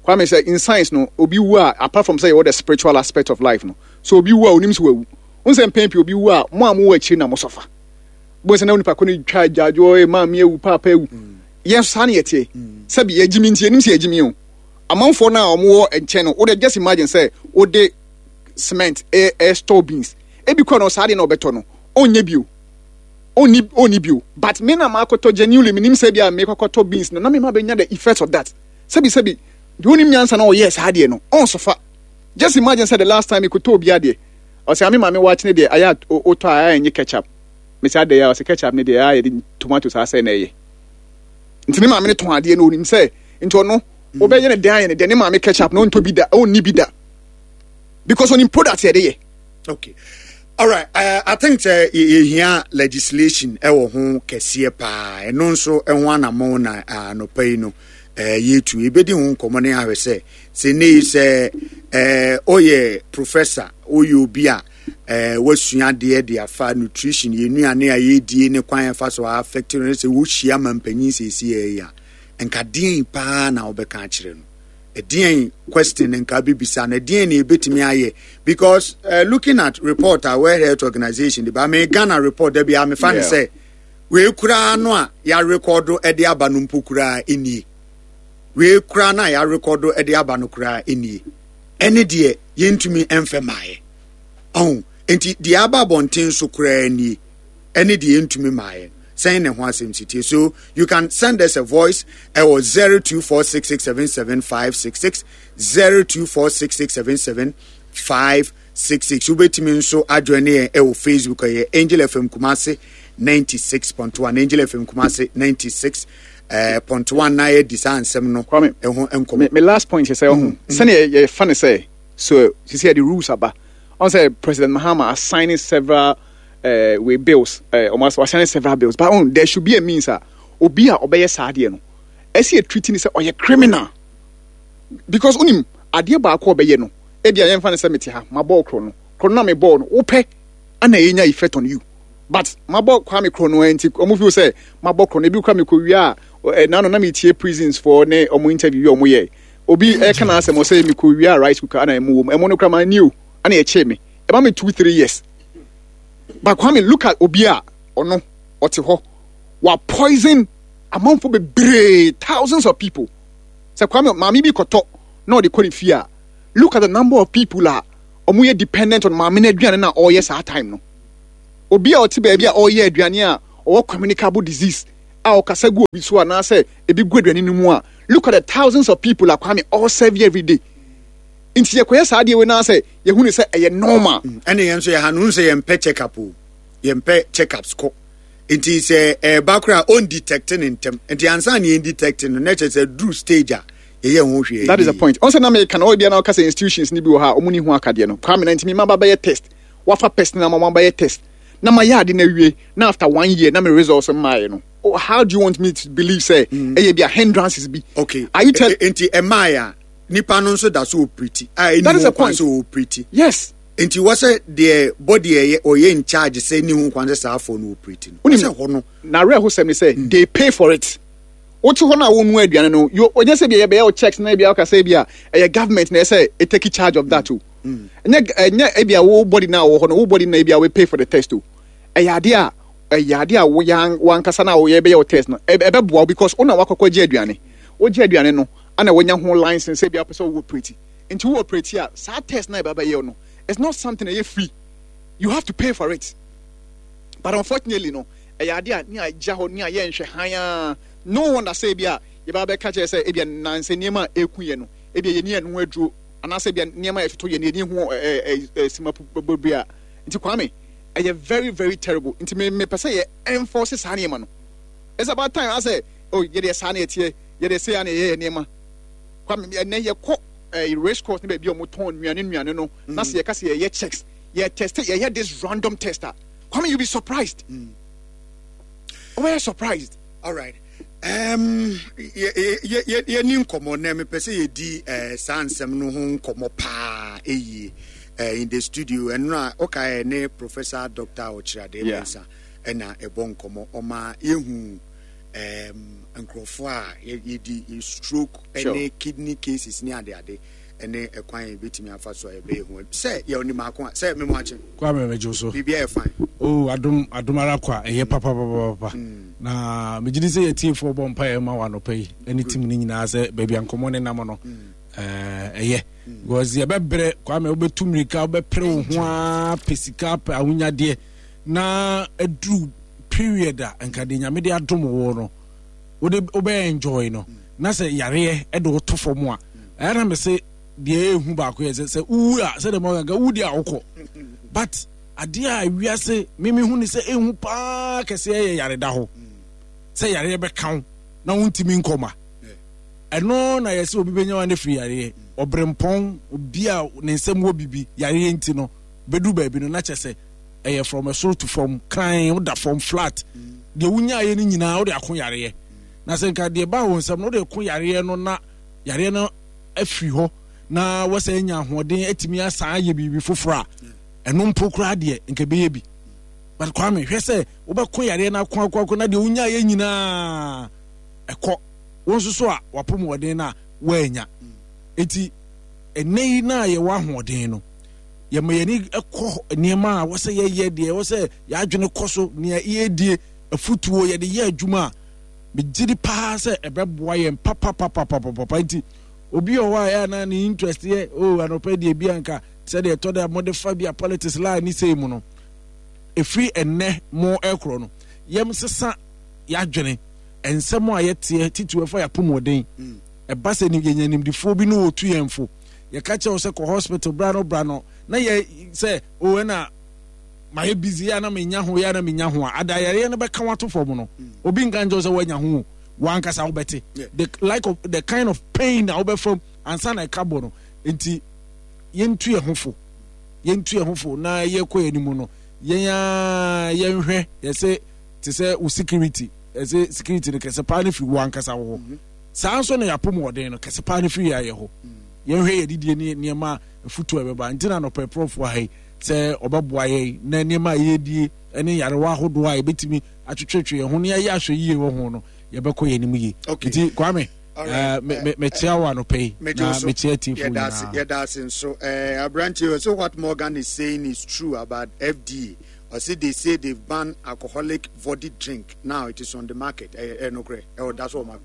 S4: Kwame, sɛ in science no, obi wu a, apart from sɛ yɛwɔ the spiritual aspect of life no, so obi wu a, onim sɛ wawu n sɛ mpɛn pii obi wu a, mo a mo wɔ akyiri na mo sɔfa bó sɛ na onipa ko no twa agyaadwoɔ, ɛ maame awu, paapa awu. Yɛn nso saa ne yɛteɛ, sɛbi yɛgyimi nti yɛnim sɛ yɛgyimi o. Amanfoɔ no a wɔwɔ nkyɛn no, wode just imagine sɛ wode cement ɛ ɛ store beans, ebi kɔ no saa deɛ na ɔbɛtɔ no ɔnyɛ bio, ɔnni ɔnni bio, but me na maakɔtɔ genuinely, menim sɛ bi a mekɔkɔtɔ beans no na me ma bɛnya the effect of that. Sɛbi sɛbi, deɛ onim nyansa na ɔyɛɛ saa deɛ no ɔnsofa. Just imagine sɛ the last time mekɔtɔ obi adeɛ, ɔsɛ ame maame wakyene deɛ ayɛ a wotɔ a ayɛ nye ketchup. Mesɛ adɛ a? Ɔsɛ ketchup ne deɛ ayɛ de tomato saa sɛ na ɛyɛ. Nti ne maame ne tɔn adeɛ no, onim sɛ nti ɔno wobɛyɛ ne dan ayɛ ne deɛ ne maame ketchup na ɔntɔ bi da, ɔnni bi da, because onim product yɛde yɛ.
S3: Okay, alright, uh, I think sɛ yɛhia legislation ɛwɔ ho kɛseɛ paa. Ɛno nso ɛho anammɔn na anɔpa yi no yɛtu yɛbɛdi ho nkɔmmɔ ne ahwɛ sɛ sɛ ne yi sɛ ɔyɛ professor, ɔyɛ obi a wasua adeɛ de afa nutrition, yɛn nnuane a yɛdie ne kwan yɛfa so affect no, sɛ wohyia ma mpanyin sɛsi yɛ a, nka deɛn paa na wobɛka akyerɛ no? Ɛdeɛn question nka bibisa no? Ɛdeɛn na yɛbɛtumi ayɛ? Because uh, looking at report a World Health Organization de ba me Ghana report da bi a mefa ne sɛ wei koraa no a yɛarekɔdo de aba no mpo koraa nie, wei koraa no a yɛarekɔdo de aba no koraa nie, ɛne deɛ yɛntumi mfɛ maayɛ ɔho. Nti deɛ aba abɔnten so koraa nie, ɛne deɛ yɛntumi maayɛ sɛn ne ho asɛm si tie. So you can send us a voice ɛwɔ zero two four six six seven seven five six six, zero two four six six seven seven five six six. Wobɛtumi nso ajoin yɛn ɛwɔ Facebook, ɛyɛ Angel F M Kumase ninety-six point one, Angel F M Kumase ninety-six point one, na yɛdi saa nsɛm no ɛho nkɔmmɔ.
S4: Me last point sɛ ɔho sɛnea yɛfa ne sɛ so sisi yɛde rules aba ɔn sɛ President Mahama assigning several uh, with bills, uh, almost assigning several bills, but um, there should be a means a obi a ɔbɛyɛ saa adeɛ no, ɛsi yɛ treat ne sɛ ɔyɛ criminal, because onim adeɛ baako a ɔbɛyɛ no, ebi a yɛmfa ne sɛ mete ha mabɔ korɔ no, korɔ no na mebɔɔ no wopɛ ana ɛnya effect on you, but mabɔ Kwame korɔ no nti ɔmo feel sɛ mabɔ korɔ no ebi kora mekɔ wie a ɛ nano na metie prisons foɔ ne ɔmo interview ɔmo yɛ, obi ɛka na asɛm ɔsɛ mekɔ wie a rice cooker ana ɛmo wɔ mu, ɛmo no kora ma ni o, ana ɛkyee me ɛma me two three years. But Kwame, look at obi a ɔno ɔte hɔ wa poison amanfo bebree, thousands of people. Sɛ Kwame, maame bi kɔtɔ na ɔde kɔ ne fie a, look at the number of people a ɔmo yɛ dependent on maame no aduane na ɔreyɛ saa time no. Obi a ɔte baabi a ɔreyɛ aduane a ɔwɔ communicable disease a ɔkasa gu obi so anaasɛ ebi gu aduane no mu a, look at the thousands of people a Kwame all serve every day. Nti yɛkɔyɛ saa adeɛ wei na sɛ yɛhu ne sɛ ɛyɛ normal.
S3: Ɛne yɛn nso yɛ ha no sɛ yɛmpɛ check up o, yɛmpɛ check ups kɔ. Nti sɛ ɛba koraa on detect ne ntɛm, nti ansa ne yɛn detect no na kyerɛ sɛ duru stage a yɛyɛ ho hwee.
S4: That is the point. Ɔnsɛ na meka na ɔbia na ɔka sɛ institutions ni bi wɔ ha a ɔmo ni ho akadeɛ no. Kwame na ntumi ma ba bɛyɛ test, wafa test na ma ma bɛyɛ test na ma yɛ ade na awie na after one year na me results mmaeɛ no. Oh, how do you want me to believe say mm. ɛyɛ bi a hindrances bi?
S3: Okay.
S4: Are you tell?
S3: Nti ɛmaa a nipa no nso da so operate a ɛni
S4: That is
S3: ho
S4: the
S3: kwan
S4: point.
S3: sɛ operate.
S4: Yes.
S3: Nti wɔsɛ deɛ body ɛyɛ ɔyɛ in charge sɛ ni ho kwan sɛ saa afɔ no operate no.
S4: Wonim-
S3: Wɔsɛ hɔ no.
S4: Na awerɛho sɛm ne sɛ they pay for it. Wote hɔ no a wonua aduane no, you ɔnyɛ sɛ bia yɛbɛyɛ wo checks na bia woka sɛ bia ɛyɛ government na ɛsɛ ɛ take charge of that o. Ɛnyɛ ɛnyɛ ebia wo body na wɔ hɔ no, wo body na ebia we pay for the test o. Ɛyɛ ade a ɛyɛ ade a wo yan wankasa na woyɛ bɛyɛ wo test no, ɛ- ɛbɛboa wo because wo na wakɔkɔ gye aduane. Wogye aduane no, ana wonya ho license sɛ bia wopɛ sɛ wo operate. Nti wo operate a, saa test na ɛbɛbɛyɛ wo no, it's not something ɛyɛ free. You have to pay for it. But unfortunately no, ɛyɛ ade a ne agya hɔ ne a yɛnhwɛ han a, no wonder sɛ ebi a yɛbɛba bɛka kyerɛ sɛ ebi a nansɛ nneɛma a ɛku yɛ no, ebi a yɛni ɛno aduro anaasɛ ebi a nneɛma a yɛtoto yɛ no yɛni ho ɛɛ ɛɛ ɛɛ sima bebree a. Nti Kwame, ɛyɛ very very terrible. Nti me mepɛ sɛ yɛ enforce saa nneɛma no. It's about time asɛ oh yɛde saa na yɛteɛ, yɛde sɛ ya na yɛyɛ nneɛma. Kwame, ɛnɛ yɛkɔ ɛɛ race course ne baabi a wɔtɔn nnuane nnuane no na sɛ yɛka sɛ yɛyɛ checks, yɛ test, yɛyɛ this random test a, Kwame, you be surprised. Wobɛyɛ surprised.
S3: All right. Um, yɛni nkɔmmɔ na mepɛ sɛ yɛdi eh, saa nsɛm no ho nkɔmmɔ paa ɛyie eh, in the studio. Ɛno a wokaɛ ne Professor Doctor Ɔkyerɛade
S4: Yeah.
S3: Mensah ɛna ɛbɔ nkɔmmɔ ɔma yɛhu um, nkurɔfoɔ a yɛ- yɛdi stroke
S4: Sure.
S3: ɛne kidney cases ne adeade ɛne ɛkwan a yɛbɛtumi afa so a yɛbɛyɛ ho sɛ yɛwɔ maako a sɛ memo akye.
S5: Kwame, mɛgye wo so.
S3: Biribiaa yɛ fine.
S5: O adom adom ara kɔ a ɛyɛ papapapapa na megye di sɛ yɛtiefoɔ bɔ mpaeɛ ma wɔ anɔpa yi ɛne team no nyinaa sɛ baabi a nkɔmmɔ ne nam no ɛɛ, ɛyɛ because yɛbɛbrɛ. Kwame, wobɛtu mmirika, wobɛpere wo ho a pɛ sika, pɛ ahonyadeɛ na aduru period a nka de Nyame de adom wo no wode wobɛyɛ enjoy no na sɛ yareɛ ɛde wo to fam a, ɛyɛ na me se deɛ ɛhu baako yɛ sɛ sɛ wowu a sɛdeɛ ma ɔka wowu deɛ a wokɔ, but adeɛ a wiase mimi hu ne sɛ ɛhu paa kɛseɛ yɛ yareda hɔ sɛ yareɛ bɛka wo na wontumi nkɔma. Ɛno na yɛsɛ obi bɛnya wa ne firi yareɛ ɔbrɛmpɔn obi a ne nsɛm wɔ bibi yareɛ nti no bɛdu baabi no na kyɛ sɛ ɛyɛ from ɛsoro to fam kran, woda fam flat. Deɛ wonyaeɛ no nyinaa wode ako yareɛ na sɛ nka deɛ ba wo nsɛm no wode ko yareɛ no na yareɛ no afiri hɔ na wɔsɛ anya ahoɔden atumi asan ayɛ biribi foforɔ a, ɛno mpo koraa deɛ nka ɛbɛyɛ bi. But Kwame, hwɛ sɛ wobɛko yareɛ no ako ako ako na deɛ wonyaeɛ nyinaa ɛkɔ wo nso so a wapɔmɔden no a woanya. Enti ɛnɛ yi na yɛwɔ ahoɔden no, yɛma yɛni kɔ nneɛma a wɔsɛ yɛyɛ deɛ wɔsɛ yɛadwene kɔ so nea yɛdie afutuo yɛde yɛ adwuma a megye di paa sɛ ɛbɛboa yɛn papapapapapa. Nti obi wɔ hɔ a ɛyɛ na ne interest yɛ o anɔpɛ deɛ bi anka sɛdeɛ ɛtɔ dɛ mode fa bi a politics line ne sei mu no, ɛfiri ɛnnɛ mo ɛkorɔ no yɛm sesa yɛadwene nsɛm a yɛteɛ titiw ɛfa yɛapɔmɔden. Ɛba sɛ ni- yɛnya nimdifoɔ bi ne wɔtu yɛn fo, yɛka kyerɛ wo sɛ kɔ hospital bra no bra no na yɛ sɛ o ɛna mayɛ busy yɛ na menya ho yɛ na menya ho a adayareɛ no bɛka wato fam no, obi nka nkyɛw sɛ woanya ho o, wankasa wobɛte the like of the kind of pain a wobɛfam ansa na ɛka bɔ no. Nti yɛntu yɛn ho fo, yɛntu yɛn ho fo na yɛkɔ yɛn anim no, yɛn a yɛnhwɛ yɛsɛ te sɛ wo security, ɛsɛ security no kɛse paa no firi wo ankasa wo hɔ. Saa nso na yɛapɔmɔden no kɛse paa no firi yɛ ayɛ hɔ. Yɛnhwɛ yɛdidie ne nneɛma afutuo a ɛbɛba. Nti na nɔpɛ prɔfoɔ ha yi sɛ ɔbɛboa yɛn na nneɛma a yɛdie ne nyarewa ahodoɔ a yɛbɛtumi atwetwetwe yɛn ho ne yɛayɛ ahwɛ yie wɔ ho no, yɛbɛkɔ yɛn anim yie. Nti Kwame, mekyia wo anɔpɛ yi na mekyia tiefo nyinaa.
S3: Yɛda ase nso. Aberanteɛ, so what Morgan is saying is true about F D A. Ɔse they say they've banned alcoholic body drink, now it is on the market. Ɛyɛ nokorɛ? Ɛwɔ da so ɔma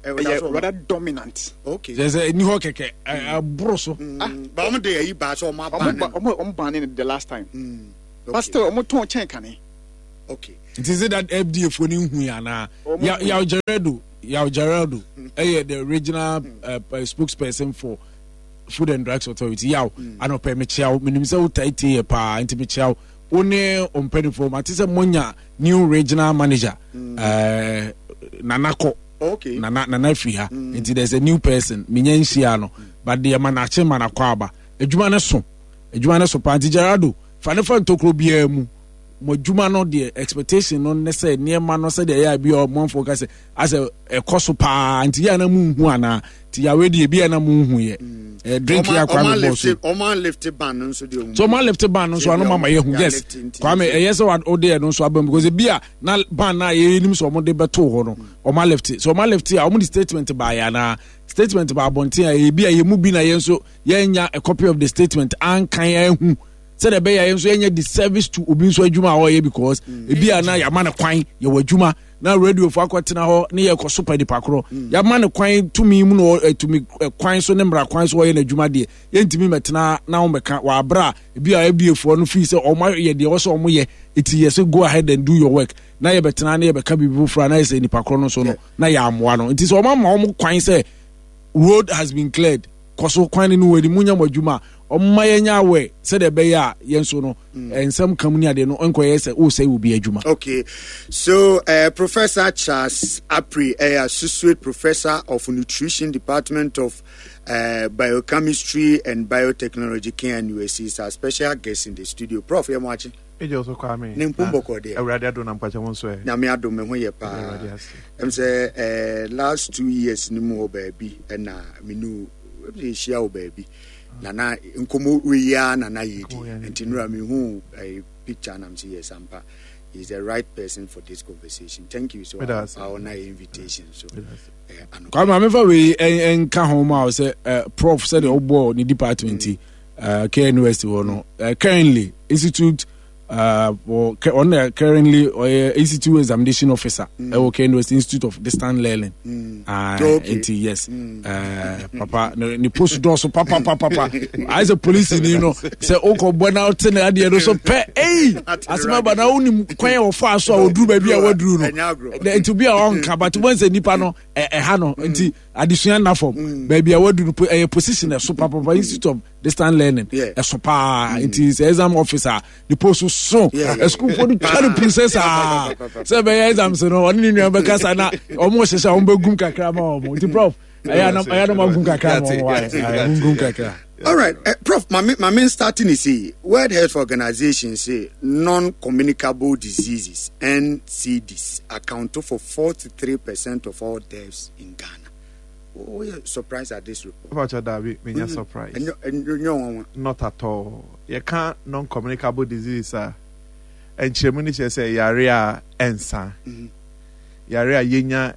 S4: ɛyɛ rather dominant.
S3: Okay.
S5: Sɛ sɛ ɛni hɔ kɛkɛ, ɛboro so.
S3: Ba ɔmo de ɛyi ba sɛ ɔmo aban
S4: no, ɔmo ɔmo ban no the last time, mm, but still ɔmo tɔn kyɛn kane.
S3: Okay.
S5: Nti sɛ that F D A foɔ no nhu yɛ anaa? Yaw Gerardo, Yaw Gerardo ɛyɛ the regional uh, uh, spokesperson for Food and Drugs Authority. Yaw, anɔpɛ mekyia wo. Menim sɛ wotae tie yɛ paa, nti mekyia wo, wo ne ɔmpanimfoɔ. Mate sɛ monya new regional manager, uh, Nana kɔ.
S3: Okay.
S5: Nana, Nana firi ha, nti there's a new person. Menya nhyia no, but deɛ ma nakye ma nakɔ aba. Adwuma no so, adwuma no so paa. Nti Gerardo, fa ne fa ntokuro biara mu. Mo adwuma no deɛ, expectation no ne sɛ nneɛma no sɛdeɛ ɛyɛ a bi a ɔmanfoɔ ka sɛ asɛ ɛkɔ so paa, nti yɛ a na mu nhu anaa? Nti yawe deɛ bi a na mu nhu yɛ ɛ drink yɛ akwa mi bɔ so.
S3: Ɔma lift ban no nso deɛ.
S5: So ɔma lift ban no nso ano mama yɛ hu. Yes, Kwame, ɛyɛ sɛ ɔde ɛno nso aba mu, because ebi a na ban na yɛnim sɛ ɔmo de bɛto hɔ no, ɔma lift. So ɔma lift a, ɔmo de statement ba yɛ anaa statement ba abɔnten a, ebi a yɛ mu bi na yɛn nso yɛnya a copy of the statement ankan ɛhu sɛdeɛ ɛbɛyɛ yɛn nso yɛnyɛ disservice to obi nso adwuma a ɔyɛ, because ebi a na yɛama no kwan yɛwɔ adwuma na radio fo akɔtena hɔ ne yɛkɔ so pa nipa korɔ yɛama no kwan tumi mu na tumi kwan so ne mmara kwan so ɔyɛ n'adwuma deɛ, yɛntumi mɛtena na wɔn bɛka wɔ abere a ebi a F D A foɔ no fii sɛ wɔn ayɛ deɛ wɔsɛ wɔn yɛ, eti yɛ sɛ go ahead and do your work, na yɛbɛtena na yɛbɛka biribi foforɔ a na yɛ sɛ nipa korɔ no so no na yɛ amoa no. Nti sɛ wɔn ama wɔn kwan sɛ road has been cleared, kɔ so kwan no wɔ anim, nyɛ mo adwuma a, ɔmma yɛnyɛ awɛ sɛdeɛ ɛbɛyɛ a yɛn nso no nsɛm kam ne adeɛ no nkɔyɛ sɛ wosɛe obi adwuma.
S3: Okay, so uh, Professor Charles Apri, uh, Associate Professor of Nutrition, Department of uh, Biochemistry and Biotechnology, K N U S C, is our special guest in the studio. Prof, yɛ mo akye.
S6: Ejo so, Kwame.
S3: Ne mpom bɔkɔ deɛ?
S6: Awurade adom na mpakyɛ mo nso ɛ?
S3: Nyame adom, me ho yɛ paa.
S6: Awurade ase.
S3: Ɛm sɛ eh, last two years ni mu hɔ baabi ɛna menu yɛhyia wɔ baabi nana nkɔmmɔ wei ara nana yɛdi, nti nura mehu eh, picture nam sɛ yes, ampa, he's the right person for this conversation. Thank you so I honor your invitation so.
S5: Eh, Kwame, mamefa wei nka ho ma wo sɛ eh, Prof, sɛdeɛ wobɔɔ ne department yi, uh, K N U S T hɔ no, uh, currently institute uh, ɔno currently ɔyɛ institute examination officer ɛwɔ K N U S T Institute of Distance Learning.
S3: mm.
S5: uh,
S3: okay.
S5: Nti yes, mm. uh, papa ne, ne post dɔɔso papapapapa, ayɛ sɛ polisi ni no sɛ wokɔ bɔ na wote ne adeɛ no so pɛ, ei, asɛm aba na wonim kwan a wɔfaa so a wɔduru baabi a wɔaduru no. Nti obi a ɔnka, but wɔn sɛ nipa no ɛha no, nti adesua nna fam baabi a waduru no, ɛyɛ position ɛso papapa, Institute of Distance Learning ɛso paa. Nti sɛ exam officer ne post so, asukuufoɔ no twa no puru saa sɛ ɛbɛyɛ exams no, ɔne ne nua bɛkasa na ɔmo hyehyɛ ɔmo bɛgum kakra ma ɔmo. Nti Prof, ɛyɛ anam agum kakra ma ɔmo, wayɛ gum kakra.
S3: All right, uh, Prof. My, my main starting is say World Health Organization say non-communicable diseases, N C Ds, account for forty-three percent of all deaths in Ghana. Oh, you surprised at this report?
S6: Pacho dabi, me mm surprise.
S3: No.
S6: Not at all. You can't non-communicable disease a nkyerɛmu ni kyerɛ sɛ yare a ɛnsa. Yare a yɛnya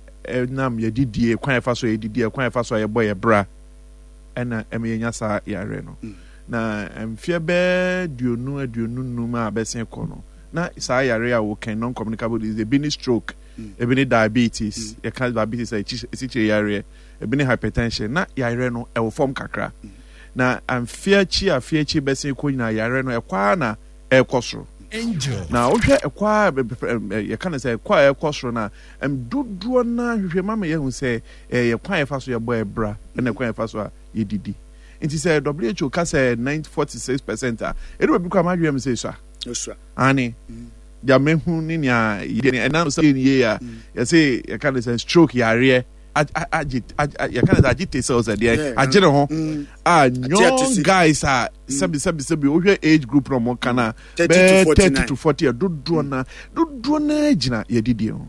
S6: nam yɛdidie, kwan yɛfa so yɛdidie, kwan yɛfa so a yɛbɔ yɛ bra, ɛna ɛma yɛnya saa yare no. Na mfeɛ bɛɛ duonu aduonu num a bɛsen kɔ no, na saa yare a wɔkɛn non-communicable disease, ebi ne stroke, ebi ne diabetes, yɛka diabetes a esikyire yareɛ, ebi ne hypertension, na yare no ɛwɔ fam kakra. Na mfeɛ akyi afeɛ akyi bɛsen kɔ nyinaa, yare no ɛkɔ ara na ɛrekɔ soro. Na wohwɛ ɛkɔ a yɛka no sɛ ɛkɔ a ɛrekɔ soro no a, dodoɔ no hwehwɛ ma ma yɛhu sɛ ɛyɛ kwan yɛfa so yɛbɔ ɛbra ɛna kwan yɛfa so a yɛdidi. Nti sɛ W H O ka sɛ forty six percent a, ɛdu baabi kora madwene m sɛ esua ane deɛ mehu ne nea ɛnam sɛ yɛn yie a yɛsɛ yɛka no sɛ stroke yareɛ agye, yɛka no sɛ agye te sɛ sɛ deɛ agye ne ho a, young guys a sɛbi sɛbi sɛbi, wohwɛ age group na ɔmo ka na bɛɛ thirty to forty, dodoɔ na dodoɔ na gyina yɛdidie ho,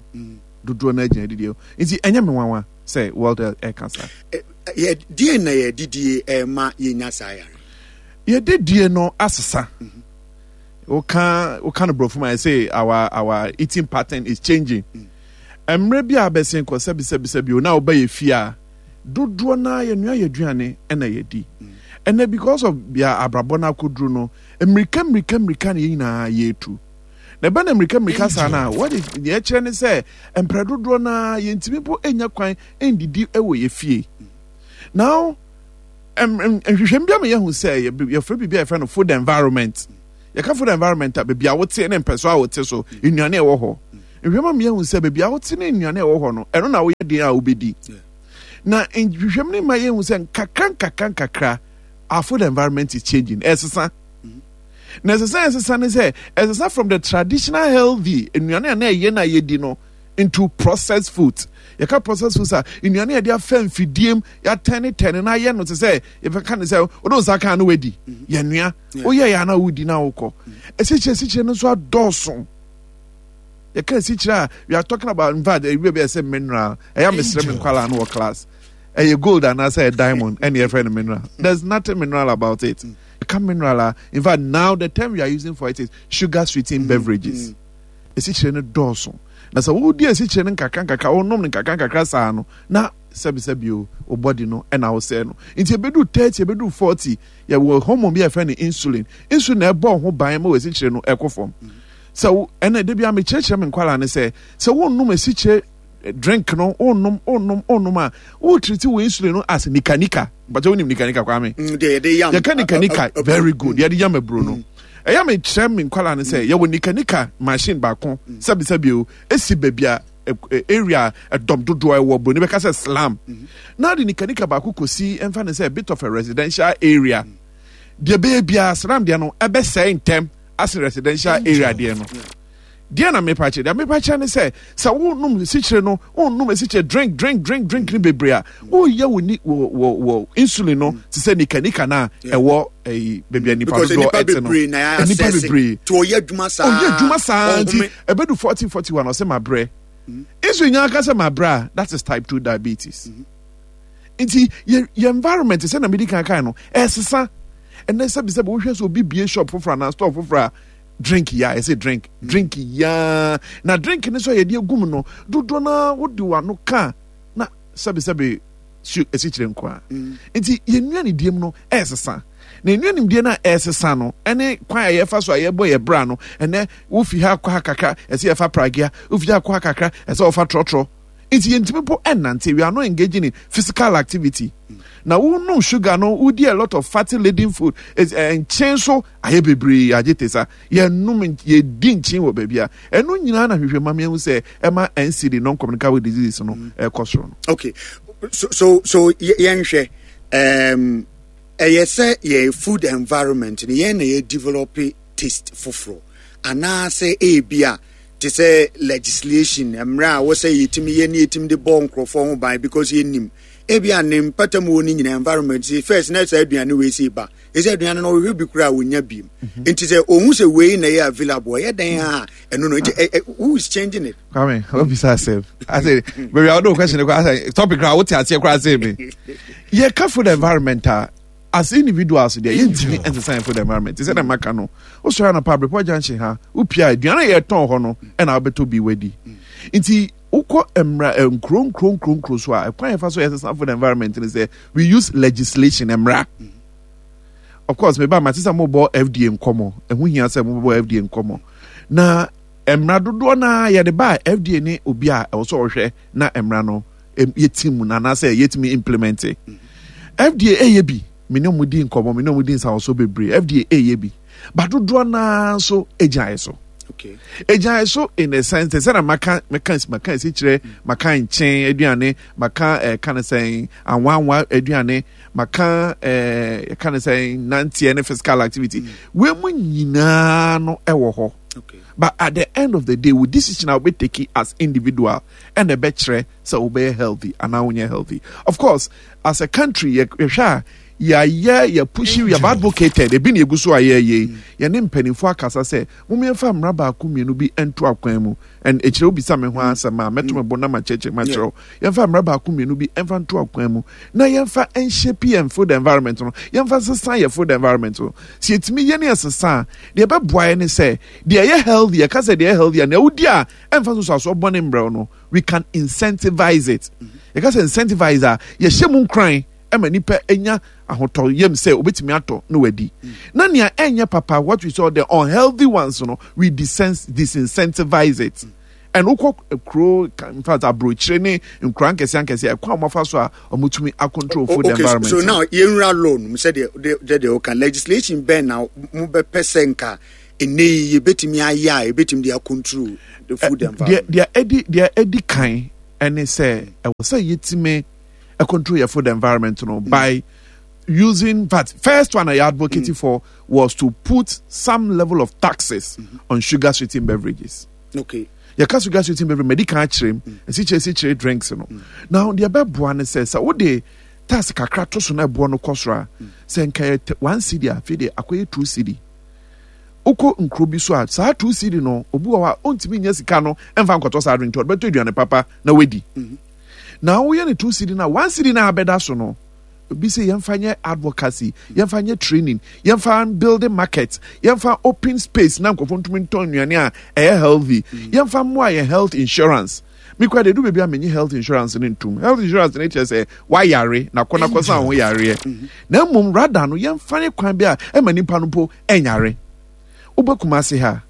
S6: dodoɔ na gyina yɛdidie ho. Nti ɛnyɛ me nwanwa sɛ World Health ɛka saa.
S3: Deɛ na yɛdidie ɛma yɛnya saa yare?
S6: Yɛdidie no asesa. Woka woka no borɔfo ma yɛ our our eating pattern is changing. Mmerɛ bi a bɛsen kɔ, sɛbi sɛbi sɛbi o, na woba yɛ fie a, dodoɔ naa yɛnua yɛ aduane ɛna yɛdi. Ɛnɛ because of bia abrabɔ no akɔduru no, mmirika mmirika mmirika na yɛn nyinaa yɛretu na ɛbɛ na mmirika mmirika saa na wɔde deɛ ɛkyerɛ ne sɛ mprɛ dodoɔ naa yɛntumi mpo nya kwan ndidi wɔ yɛ fie. Now nhwehwɛmu bi ama yɛhu sɛ yɛfrɛ biribi a yɛfrɛ no food environment. Yɛka food environment a, baabi a wote ne mpɛso a wote so, nnuane a ɛwɔ hɔ. Nhwehwɛmu ama yɛahu sɛ baabi a wote ne nnuane a ɛwɔ hɔ no, ɛno na woyɛ den a wobɛdi. Na nhwehwɛmu no ma yɛhu sɛ nkakra nkakra nkakra, our food environment is changing. Ɛsesa. Na ɛsesa ɛsesa ne sɛ, ɛsesa from the traditional healthy nnuane a na ɛyɛ na yɛdi no into processed food. Yɛka processed foods a, nnuane a yɛde afa mfidie mu, yɛatɛnetɛne na ayɛ no te sɛ yɛbɛka ne sɛ wode wo nsa ka no wadi. Yɛnoa. Woyɛ yɛ ana wodi na wokɔ. Asikyire asikyire no nso adɔɔso. Yɛka asikyire a, we are talking about, in fact, ebi baabi a ɛsɛ mineral. Ɛyɛ mesrɛ me nkwalaa no wɔ class. Ɛyɛ gold anaasɛ ɛyɛ diamond ɛna yɛfrɛ no mineral. There's nothing mineral about it. Yɛka mineral a, in fact, now the term we are using for it is sugar sweetened mm, beverages. Mm. Asikyire no dɔɔso. Na sɛ wodi asikyire no nkakra nkakra, wonom no nkakra nkakra saa no, na sɛbisɛbi o, wo body no ɛna wosɛe no. Nti ebedu thirty, ebedu forty, yɛwɔ hormone bi a yɛfrɛ no insulin. Insulin na ɛbɔ ho ban ma wɔ asikyire no ɛkɔ fam. Sɛ wo ɛna de bi a mekyerɛkyerɛ me nkwalaa ne sɛ, sɛ wonnom asikyire drink no, wonnom, wonnom, wonnom a, wotiriti wo insulin no as nika nika. Bàtɛ wonim nika nika, Kwame?
S3: Mm, deɛ yɛde yam
S6: Yɛka nika nika, very good, yɛde yam aburo no. Ɛyɛ mekyerɛ me nkwalaa ne sɛ, yɛwɔ nika nika machine baako, sɛbisɛbi o, esi baabi a area ɛdɔm dodoɔ ɛwɔ, buroni bɛka sɛ slum, na de nika nika baako kɔsi, ɛmfa ne sɛ a bit of a residential area deɛ, bɛyɛ biara slum deɛ no ɛbɛsɛe ntɛm ase residential area deɛ no. Deɛ na mepa kyerɛ, deɛ mepa kyerɛ ne sɛ, sɛ wonom esikyire no, wonom esikyire drink drink drink drink ne bebree a, woyɛ wo ni wɔ wɔ wɔ insulin no te sɛ nika nika na ɛwɔ ɛyi beebi a nipa dodoɔ ɛte no, nipa bebree
S3: tí ɔyɛ adwuma saa,
S6: ɔyɛ adwuma saa, nti ɛbɛdu forty forty one ɔsɛ ma brɛ. Insulin nyɛ aka sɛ ma brɛ a, that is type two diabetes. Nti yɛ yɛ environment sɛ na mi di kan kan no ɛsesa. Ɛnɛ sɛbisɛbi wohwɛ sɛ obi bie shop foforɔ anaa store foforɔ a, drink ya, ɛsɛ drink drink ya, na drink no nso a yɛde egum no dodoɔ naa wode w'ano ka na sɛbisɛbi esikyire nko a. Nti yɛn nnuane die mu no ɛsesa, na nnuane die no a ɛsesa no ɛne kwan a yɛfa so a yɛbɔ yɛ bra no. Ɛnɛ wofi ha kɔ ha kakra, ɛsɛ yɛfa pragea, wofi ha kɔ ha kakra, ɛsɛ wɔfa trɔtrɔ, nti yɛntumi po ɛnante. We are not engaging in physical activity. Na wonum sugar no, wodi a lot of fatty laden food, nkyɛn so ayɛ bebree agye te sa yɛnum, yɛdi nkyen wɔ baabi a ɛno nyinaa na hwehwɛ ma mehu sɛ ɛma N C D, non-communicable diseases no, ɛkɔ soro no.
S3: Okay, so so so yɛnhwɛ, um, ɛyɛ sɛ yɛ food environment no, yɛn na yɛ develop taste foforɔ, anaasɛ ebi a te sɛ legislation, mmerɛ a wɔsɛ yɛtumi yɛ ne yɛtumi de bɔ nkurɔfoɔ ho ban, because yɛnim ebi a ne mpatamu wɔ ne nyinaa environment sɛ first na saa aduane wei sɛ ba ɛsɛ aduane no ɔhwehwɛ bi koraa a wɔnya biem, nti sɛ ɔhu sɛ wei na ɛyɛ available, ɛyɛ dɛn a ɛno no nti who is changing it?
S6: Kwame, wabisa asɛm ase baabi a wode wo question kɔ asɛ topic koraa wote aseɛ koraa sɛ me yɛka food environment a, as individuals deɛ, yɛntumi nsesa yɛn food environment. Te sɛ na maka no, wosɔre anɔpa, Abrepɔ Junction ha, wopia aduane a yɛtɔn hɔ no ɛna wobɛtɔ bi wadi. Nti wokɔ mmra nkuro nkuro nkuro nkuro so a, ɛkwan yɛfa so yɛsesa food environment no sɛ we use legislation, mmra. Of course, meba mate sɛ mobɔ F D A nkɔmmɔ, ɛho hia sɛ mobɔ F D A nkɔmmɔ, na mmara dodoɔ no a yɛde ba a, F D A ne obi a ɛwɔ sɛ ɔhwɛ na mmara no yɛti mu no anaasɛ yɛtumi implement. F D A ɛyɛ bi, me ne ɔmo di nkɔmmɔ, me ne ɔmo di nsawɔso bebree. F D A ɛyɛ bi ba dodoɔ naa nso gyinaeɛ so, egyinaeɛ so in a sense sɛ na maka maka maka esi kyerɛ, maka nkyɛn aduane, maka ɛɛ ka ne sɛn, anwanwa aduane, maka ɛɛ ka ne sɛn, nanteɛ ne physical activity mm. Wei mu nyinaa no ɛwɔ hɔ, but at the end of the day, wo decision a wobɛ take as individual ɛna ɛbɛkyerɛ sɛ wobɛyɛ healthy anaa wonyɛ healthy. Of course, as a country, yɛhwɛ a, yɛayɛ, yɛ push, we have advocated, ebi na egu so a yɛyɛ yi, yɛne mpanimfoɔ akasa sɛ mo yɛmfa mmara baako mmienu bi nto akwan mu. And ekyirɛ wobisa me ho asɛm a, mɛto me bo na ma kyerɛkyerɛ ma kyerɛw. Yɛmfa mmara baako mmienu bi mfa nto akwan mu na yɛmfa nhyɛ yɛn food environment no, yɛmfa nsesa yɛ food environment no. Sɛ yɛtumi yɛ ne yɛsesa a, deɛ ɛbɛboa yɛ ne sɛ deɛ ɛyɛ healthy, yɛka sɛ deɛ ɛyɛ healthy a, nea wodi a ɛmfa so so aso bɔne mbrɛw no, we can incentivize it. Yɛka sɛ incentivize a, yɛhyɛ mu nkran ɛma nipa anya ahotɔ yam sɛ obetumi atɔ na wadi, na nea ɛnyɛ papa, what we saw, the unhealthy ones no, we disincentivize it. And wokɔ kuro, in fact aburokyire ne nkura nkɛseɛ nkɛseɛ, ɛkwan a wɔafa so a wɔtumi acontrol food
S3: okay,
S6: environment.
S3: So now yɛnwura law no mu, sɛdeɛ sɛdeɛ ɔka legislation bɛn na mobɛpɛ sɛ nka Ɛnɛ yi yɛbɛtumi ayɛ a yɛbɛtumi de acontrol the food environment.
S6: Deɛ ɛdi deɛ ɛdi kan ɛne sɛ ɛwɔ sɛ yɛtumi control your food environment no mm. by using that first one I advocated mm. for was to put some level of taxes mm-hmm. on sugar sweetened beverages.
S3: Okay.
S6: Yɛka sugar sweetened beverage mɛdi kan akyerɛ mu esikyere esikyere drinks no. Now deɛ ɛbɛboa ne sɛ sɛ wode tax kakra to so na ɛboɔ no kɔ soro a, sɛ nka yɛ one cedi a, afei deɛ akɔyɛ two cedi. Wokɔ nkuro bi so a, saa two cedi no, obi wɔ hɔ a ɔntumi nya sika no mfa nkɔtɔ saa drink, nti ɔde bɛtɔ aduane papa na wadi. Na woyɛ no two cedi no a, one cedi no a abɛda so no, obi sɛ yɛmfa nyɛ advocacy, yɛmfa nyɛ training, yɛmfa building market, yɛmfa open space na nkurɔfoɔ ntumi ntɔn nnuane a ɛyɛ healthy, yɛmfa mmoa yɛn health insurance. Me kura de edu baabi a menye health insurance no ntum. Health insurance no kyerɛ sɛ wayare na kɔ na kɔsa ho yareɛ. Mm-hmm. Na mmom rada no yɛmfa ne kwan bi a ɛma nipa no mpo ɛnyare. Wobɛ Kumasi ha,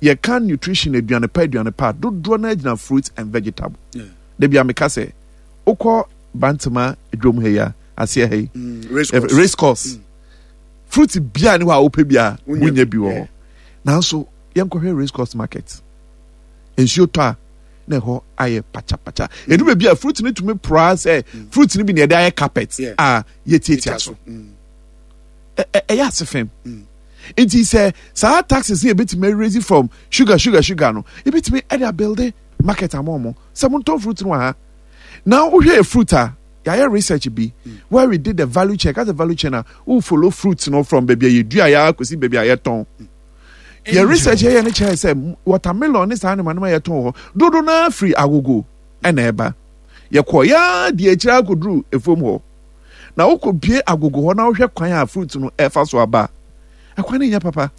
S6: yɛka nutrition, aduane pa aduane pa dodoɔ no agyina fruits and vegetable. Da bi a meka sɛ wokɔ Bantama dwom ha yi a aseɛ ha yi, mm, race course, mm. fruit bia ne hɔ a wopɛ bia wonya bi wɔ hɔ. Nanso yɛnkɔhwɛ race course market. Nsuo tɔ a na ɛhɔ ayɛ pakyapakya. Ɛdu baabi a fruit no tumi poraa sɛ fruit no bi na yɛde ayɛ carpet a yɛtiatia so. Ɛyɛ ase fam. Nti sɛ saa taxes no yɛbɛtumi raise from sugar sugar sugar no, yɛbɛtumi ɛde abuilde market ama ɔmo sɛ montɔn fruit no wɔ ha. Na wohwɛ yɛ fruit a, yɛayɛ research bi where we did the value chain. Ka sɛ value chain a, wo follow fruit no from baabi a yɛdua yɛ akɔsi baabi a yɛtɔn. Yɛ research yɛyɛ no kyerɛ sɛ watermelon ne saa nneɛma nneɛma yɛtɔn wɔ hɔ dodo no ara firi agogo ɛna ɛba. Yɛkɔ yɛa di akyire akɔduru efuom hɔ. Na wokɔ bie agogo hɔ na wohwɛ kwan a fruit no ɛfa so aba a, ɛkwan no nyɛ papa.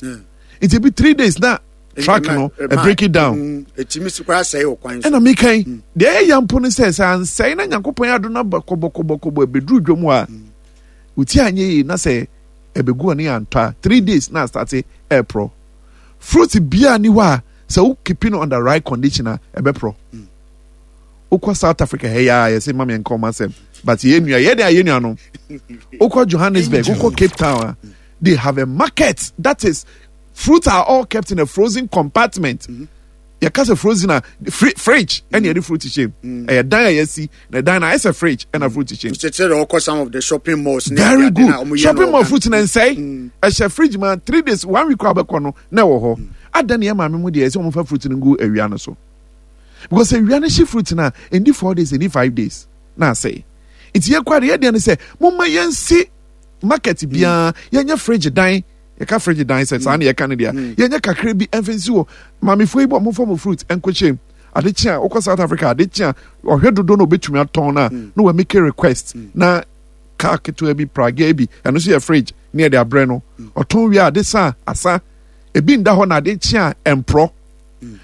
S6: Nti ebi three days na truck no break it down. Ɛna meka yi, deɛ ɛyɛ ya mpo no sɛ sɛ ansɛe na Nyankopɔn ado no aba kɔbɔkɔbɔkɔbɔ ɛbɛduru dwom hɔ a, wo ti anyɛ yie na sɛ ɛbɛgu ɔne antɔ a, three days na asate ɛreporɔ. Fruit biara ni hɔ a sɛ wo keep no on the right condition a ɛbɛporɔ. Wokɔ South Africa ha yi a yɛsɛ ma meɛnka ɔma asɛm but yɛ nua yɛ de a yɛ nuanom. Wokɔ Johannesburg, wokɔ Cape Town a, they have a market that is fruits are all kept in a frozen compartment. Mm -hmm. Yɛka sɛ frozen a fridge ɛna yɛde fruit hyɛ mu. Ɛyɛ dan a yɛasi na dan na ayɛ sɛ fridge ɛna fruit hyɛ mu.
S3: Kyerɛ dɛ ɔkɔ some of the shopping malls.
S6: Very good, shopping mall fruit na nsɛe, ɛhyɛ fridge ma three days, one week a bɛkɔ no na ɛwɔ hɔ. Adan yɛ maame mu deɛ ɛsɛ wɔn fa fruit no ngu awia no so because awia no hye fruit na ɛndi four days, ɛndi five days na asɛe. Nti yɛ kɔ adeɛ yɛ deɛ no sɛ mo ma yɛn si market biara yɛnyɛ fridge dan. Yɛka fridge dan sɛ saa na yɛka no deɛ, mm. yɛnyɛ kakra bi ɛmfa nsi hɔ. Maamefoɔ yi bɔ momfa mo fruit nkɔhyɛ mu. Ade kye a wokɔ South Africa, ade kye a ɔhwɛ dodo na obɛtumi atɔn no a, mm. na wamake request mm. na car ketewa bi pragea bi, ɛno nso yɛ fridge ne yɛde abrɛ no. Ɔtɔn wie a ade sa asa ebi nda hɔ na ade kye a ɛmporɔ.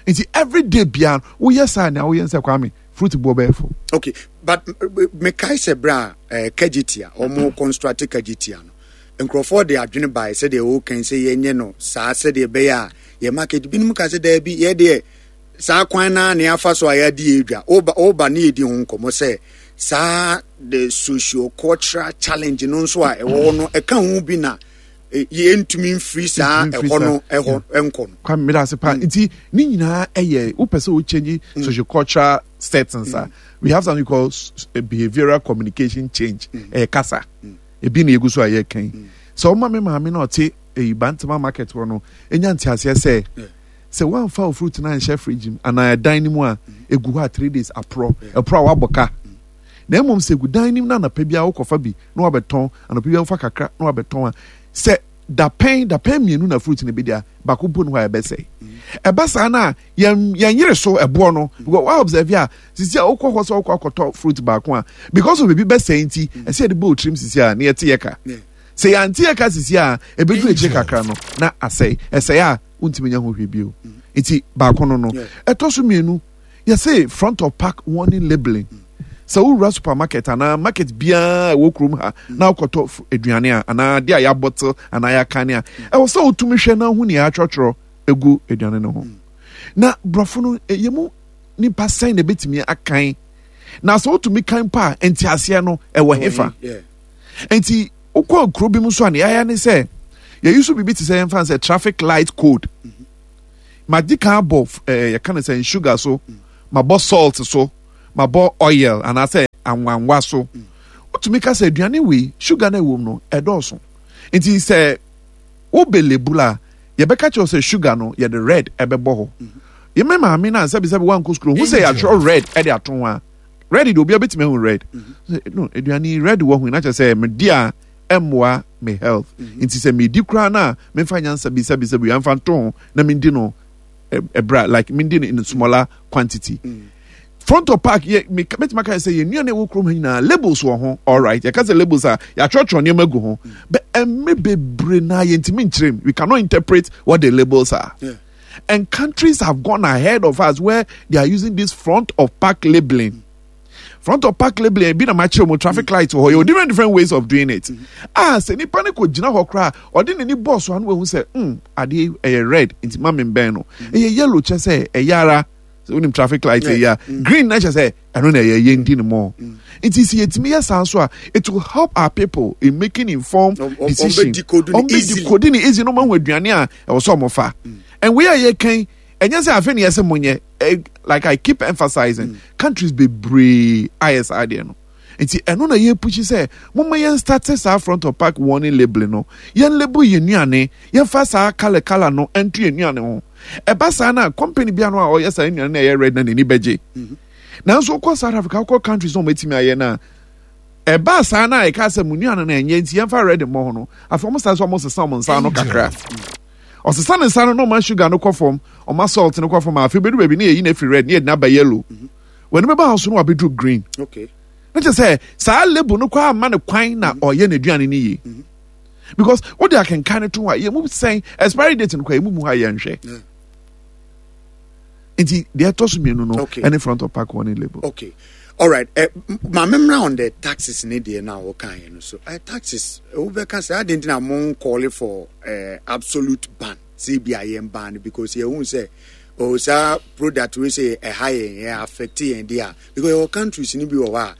S6: Nti everyday biara woyɛ saa nea woyɛ nsɛ Kwame fruit boɔ bɛyɛ fo.
S3: Okay, but mekae sɛ berɛ a eh, Kejetia ɔmo construct Kejetia no, nkurɔfoɔ de adwene bae sɛdeɛ wɔka yi sɛ yɛnyɛ no saa sɛdeɛ ɛbɛyɛ a yɛ market. Binom ka sɛ daabi, yɛ deɛ saa kwan no ara na yɛafa so a yɛadi yɛ dwa. Woba woba ne yɛdi ho nkɔmmɔ sɛ saa the socio-cultural challenge no nso a ɛwɔ hɔ no ɛka ho bi na eh, yɛntumi mfiri saa ɛhɔ no ɛhɔ nkɔ no.
S6: Kwame, meda ase paa. Nti ne nyinaa ɛyɛ wopɛ sɛ wo change mm. socio-cultural settings a, mm. we have something called behavioral communication change. Ɛyɛ kasa. Ebi na egu so a yɛreka yi. Sɛ ɔma me maame na ɔte eyi Bantama market hɔ no enya nteaseɛ sɛ sɛ woamfa wo fruit no anhyɛ fridge mu anaa ɛdan no mu a, egu hɔ a three days aporɔ. Ɛporɔ a woabɔ ka. Na mmom sɛ egu dan no mu na anɔpa biara wokɔfa bi na wabɛtɔn, anɔpa biara wofa kakra na wabɛtɔn a, sɛ dapɛn dapɛn mmienu na fruit no bɛdi a, baako mpo ne hɔ a ɛbɛsɛe. Ɛba saa no a, yɛn yɛn yere so ɛboɔ no because wa observe a sisi a wokɔ hɔ sɛ wokɔ akɔtɔ fruit baako a, because of ebi bɛsɛe nti ɛsɛ yɛde bɔ otirim sisi a na yɛte yɛ ka. Sɛ yɛante yɛ ka sisi a, ɛbɛduru akyire kakra no na asɛe. Ɛsɛe a wontumi nya ho hwee bio. Nti baako no no ɛtɔ so mmienu, yɛse front of pack warning labeling. Sɛ wowura supermarket anaa market biara ɛwɔ kurom ha na wokɔtɔ aduane a anaa adeɛ a yɛabɔtel anaa yɛakane a, ɛwɔ sɛ wotumi hwɛ na wohu nea yɛatwerɛtwerɛ egu aduane no ho. Na borɔfo no, yɛ mu nipa sɛn na ebetumi akan? Na sɛ wotumi kan pa a, nteaseɛ no ɛwɔ hefa? Nti wokɔ kuro bi mu so a, nea yɛayɛ ne sɛ Yɛyi so biribi te sɛ yɛmfa sɛ traffic light code. Magye kan abɔ ɛɛ yɛka no sɛ sugar so, mabɔ salt so, mabɔ oil anaasɛ anwanwa so. Wotumi ka sɛ aduane wei, sugar no ɛwɔ mu no ɛdɔɔso, nti sɛ wobɛ label a, yɛbɛka kyerɛ sɛ sugar no yɛde red ɛbɛbɔ hɔ. Yɛmɛ maame no a sɛbisɛbi wankɔ sukuu hu sɛ yɛatwerɛ red ɛde ato ho a, red de obiara bɛtumi ahu red no. Aduane red wɔ ho na kyerɛ sɛ medi a ɛmmoa me health, nti sɛ medi koraa no a, memfa nyansa bi sɛbisɛbi yɛmfa nto ho na mendi no ɛbra, like mendi no in smaller quantity. Front of pack yɛ me mɛtumi aka sɛ yɛn nnuane ɛwɔ kurom ha nyinaa, labels wɔ ho. Alright, yɛka sɛ labels a, yɛatwerɛtwerɛ nneɛma gu ho, but ɛmɛ bebree na yɛntumi nkyerɛ mu. We cannot interpret what the labels are. Yeah. And countries have gone ahead of us where they are using this front of pack labeling. Front of pack labeling ebi na ma kyerɛ mu traffic light wɔ hɔ. Yɛ different different ways of doing it. Ah, sɛ nipa ne ko gyina hɔ koraa, ɔde n'ani bɔɔ so ano ehu sɛ mm adeɛ ɛyɛ red nti ma mi bɛn no, ɛyɛ yellow kyɛ sɛ ɛyɛ ara sɛ wonim traffic light ɛyɛ a, green na kyɛ sɛ ɛno na ɛyɛ yɛn di ne mɔ. Nti sɛ yɛtumi yɛ saa nso a, it will help our people in making informed decision. Ɔmo bɛ decode ne easy no, ɔmo ahu aduane a ɛwɔ sɛ ɔmo fa. And wei a yɛkan, ɛnyɛ sɛ afei ne yɛsɛ mo nyɛ. Like I keep emphasizing, mm. countries bebree ayɛ saa adeɛ no, nti ɛno na yɛ push sɛ moma yɛn start saa front of pack warning label no. Yɛn label yɛn nnuane, yɛmfa saa colour colour no ɛnto yɛn nnuane ho. Ɛba saa na company bi ano a ɔyɛ saa nnuane na ɛyɛ red na n'ani bɛgye. Nanso wokɔ South Africa, wokɔ countries na wɔn atumi ayɛ na ɛba saa na ɛka sɛ mo nnuane no ɛnyɛ nti yɛmfa red mmɔ ho no, afei wɔn start sɛ wɔn sesa wɔn nsa ano kakra. Ɔsesa ne nsa no na ɔma sugar no kɔ fam, ɔma salt no kɔ fam. Afei bɛdu baabi ne yɛyi no afiri red ne yɛde no aba yellow. Wɔn bɛba ahosuo no wabɛduru green.
S3: Okay.
S6: Ne kyerɛ sɛ saa label no koraa ama ne kwan na ɔyɛ n'aduane no yie, because wode akenkan no to hɔ a, yɛ mu sɛn expiry date no koraa yɛ mu mu ha yɛnhwɛ. Nti deɛ ɛtɔ so mmienu no ɛne front of pack warning label.
S3: Okay, all right. uh, maame mmra on the taxes ne deɛ na wɔka yɛ no so. uh, taxes wobɛka sɛ adi nti na mo call for uh, absolute ban sɛ bi a yɛn ban no, because yɛhu sɛ oh saa product wei sɛ ɛha yɛn, yɛ affect yɛn deɛ a, because yɛwɔ countries no bi wɔ hɔ a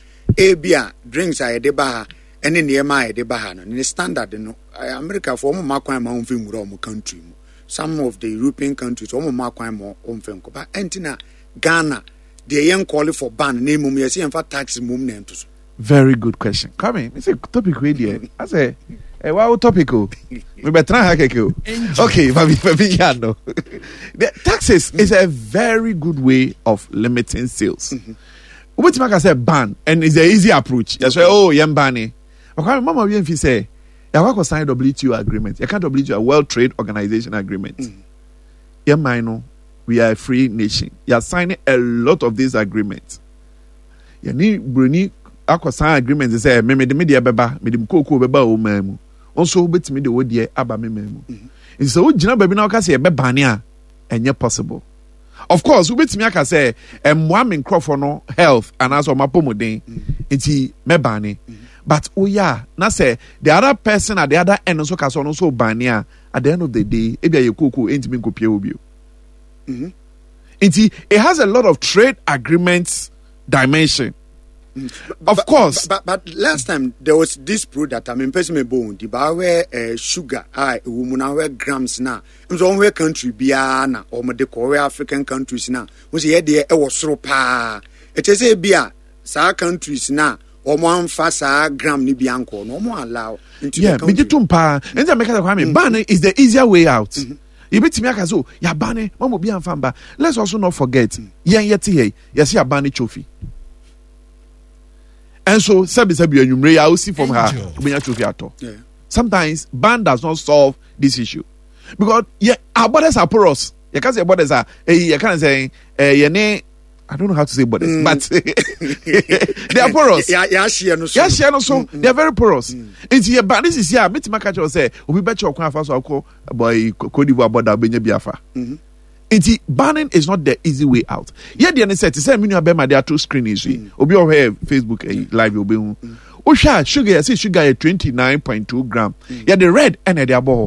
S3: ebi a drinks a yɛde ba ha ɛne nneɛma a yɛde ba ha no ne standard no, America fo wɔn mma kwan ma wɔn mfa nwura wɔn country mu. Some of the European countries, wɔn mma kwan ma wɔn mfa nkɔ ba. Ɛnti na Ghana deɛ yɛn call for ban na emom yɛsɛ yɛn fa tax mom na ɛnto so.
S6: Very good question, Kwame. Me sɛ topic wei deɛ asɛ ɛwɔ awo topic o, me bɛ tena ha kɛkɛ o. Okay, mami mami yan no, the taxes is a very good way of limiting sales. Wobɛtumi aka sɛ ban, and it's the easy approach. Yɛ sɛ oh yɛn ban ni, Kwame, mama wi nfi sɛ yàwó akɔ sign W T O agreement. Yɛka W T O, World Trade Organization agreement. Yɛn man no, we are a free nation. Yɛ sign a lot of these agreements. Yɛne buroni akɔ sign agreement sɛ me mede me deɛ bɛba, mede me kookoo bɛba wɔ man mu, nso wobɛtumi de wo deɛ aba me man mu. Nti sɛ wogyina baabi na woka sɛ yɛbɛbane a, ɛnyɛ possible. Of course, wobɛtumi aka sɛ ɛmmoa me nkurɔfoɔ no health anaasɛ ɔmo apɔmuden nti mɛbane, but woyɛ a na sɛ the other person at the other end nso ka sɛ ɔno nso bane a, at the end of the day ebi a yɛ kookoo ɛntumi nkɔpie wɔ bio. Nti it has a lot of trade agreements dimension, of
S3: but,
S6: course.
S3: But, but, but last time there was this product, I mean, person me bone, the where uh, sugar, I woman where grams na. Nso wɔn country biara na wɔn de kɔ wɔn African countries na wɔn sɛ yɛ deɛ ɛwɔ soro paa. Ɛkyɛ sɛ ebi a saa countries na wɔn amfa saa gram ni bi ankɔ no, wɔn allow
S6: into yeah, the country. Megye tom paa. Nti a meka sɛ Kwame, ban is the easier way out. Yɛbɛtumi aka sɛ o yɛabane mama obi amfa mba. Let's also not forget, yɛn yɛte ha yi, yɛsɛ yɛabane chofi. Ɛnso sɛbisɛbi anwummere yi a wosi fam ha, wobɛnya chofi atɔ.
S3: Yeah.
S6: Sometimes ban does not solve this issue because yɛ our borders are porous. Yɛka sɛ borders a ɛyi yɛka ne sɛ ɛɛ yɛne, I don't know how to say borders, mm. but they are porous.
S3: Yɛahyeɛ no so.
S6: Yɛahyeɛ no so. They are very porous. Nti yɛ ban ne sisi a, mɛtumi aka kyerɛ sɛ obi bɛkyɛ ɔkwan afa so akɔ bɔyi Cote d'Ivoire border, wobɛnya bi afa. Nti banning is not the easy way out. Yɛ deɛ ne sɛ te sɛ me nua bɛrima de ato screen yi so yi, obi a ɔhwɛ Facebook ɛyi live yi obɛhu. Wohwɛ a, sugar, yɛsɛ sugar yɛ twenty nine point two gram. Yɛde red ɛna ɛde abɔ hɔ.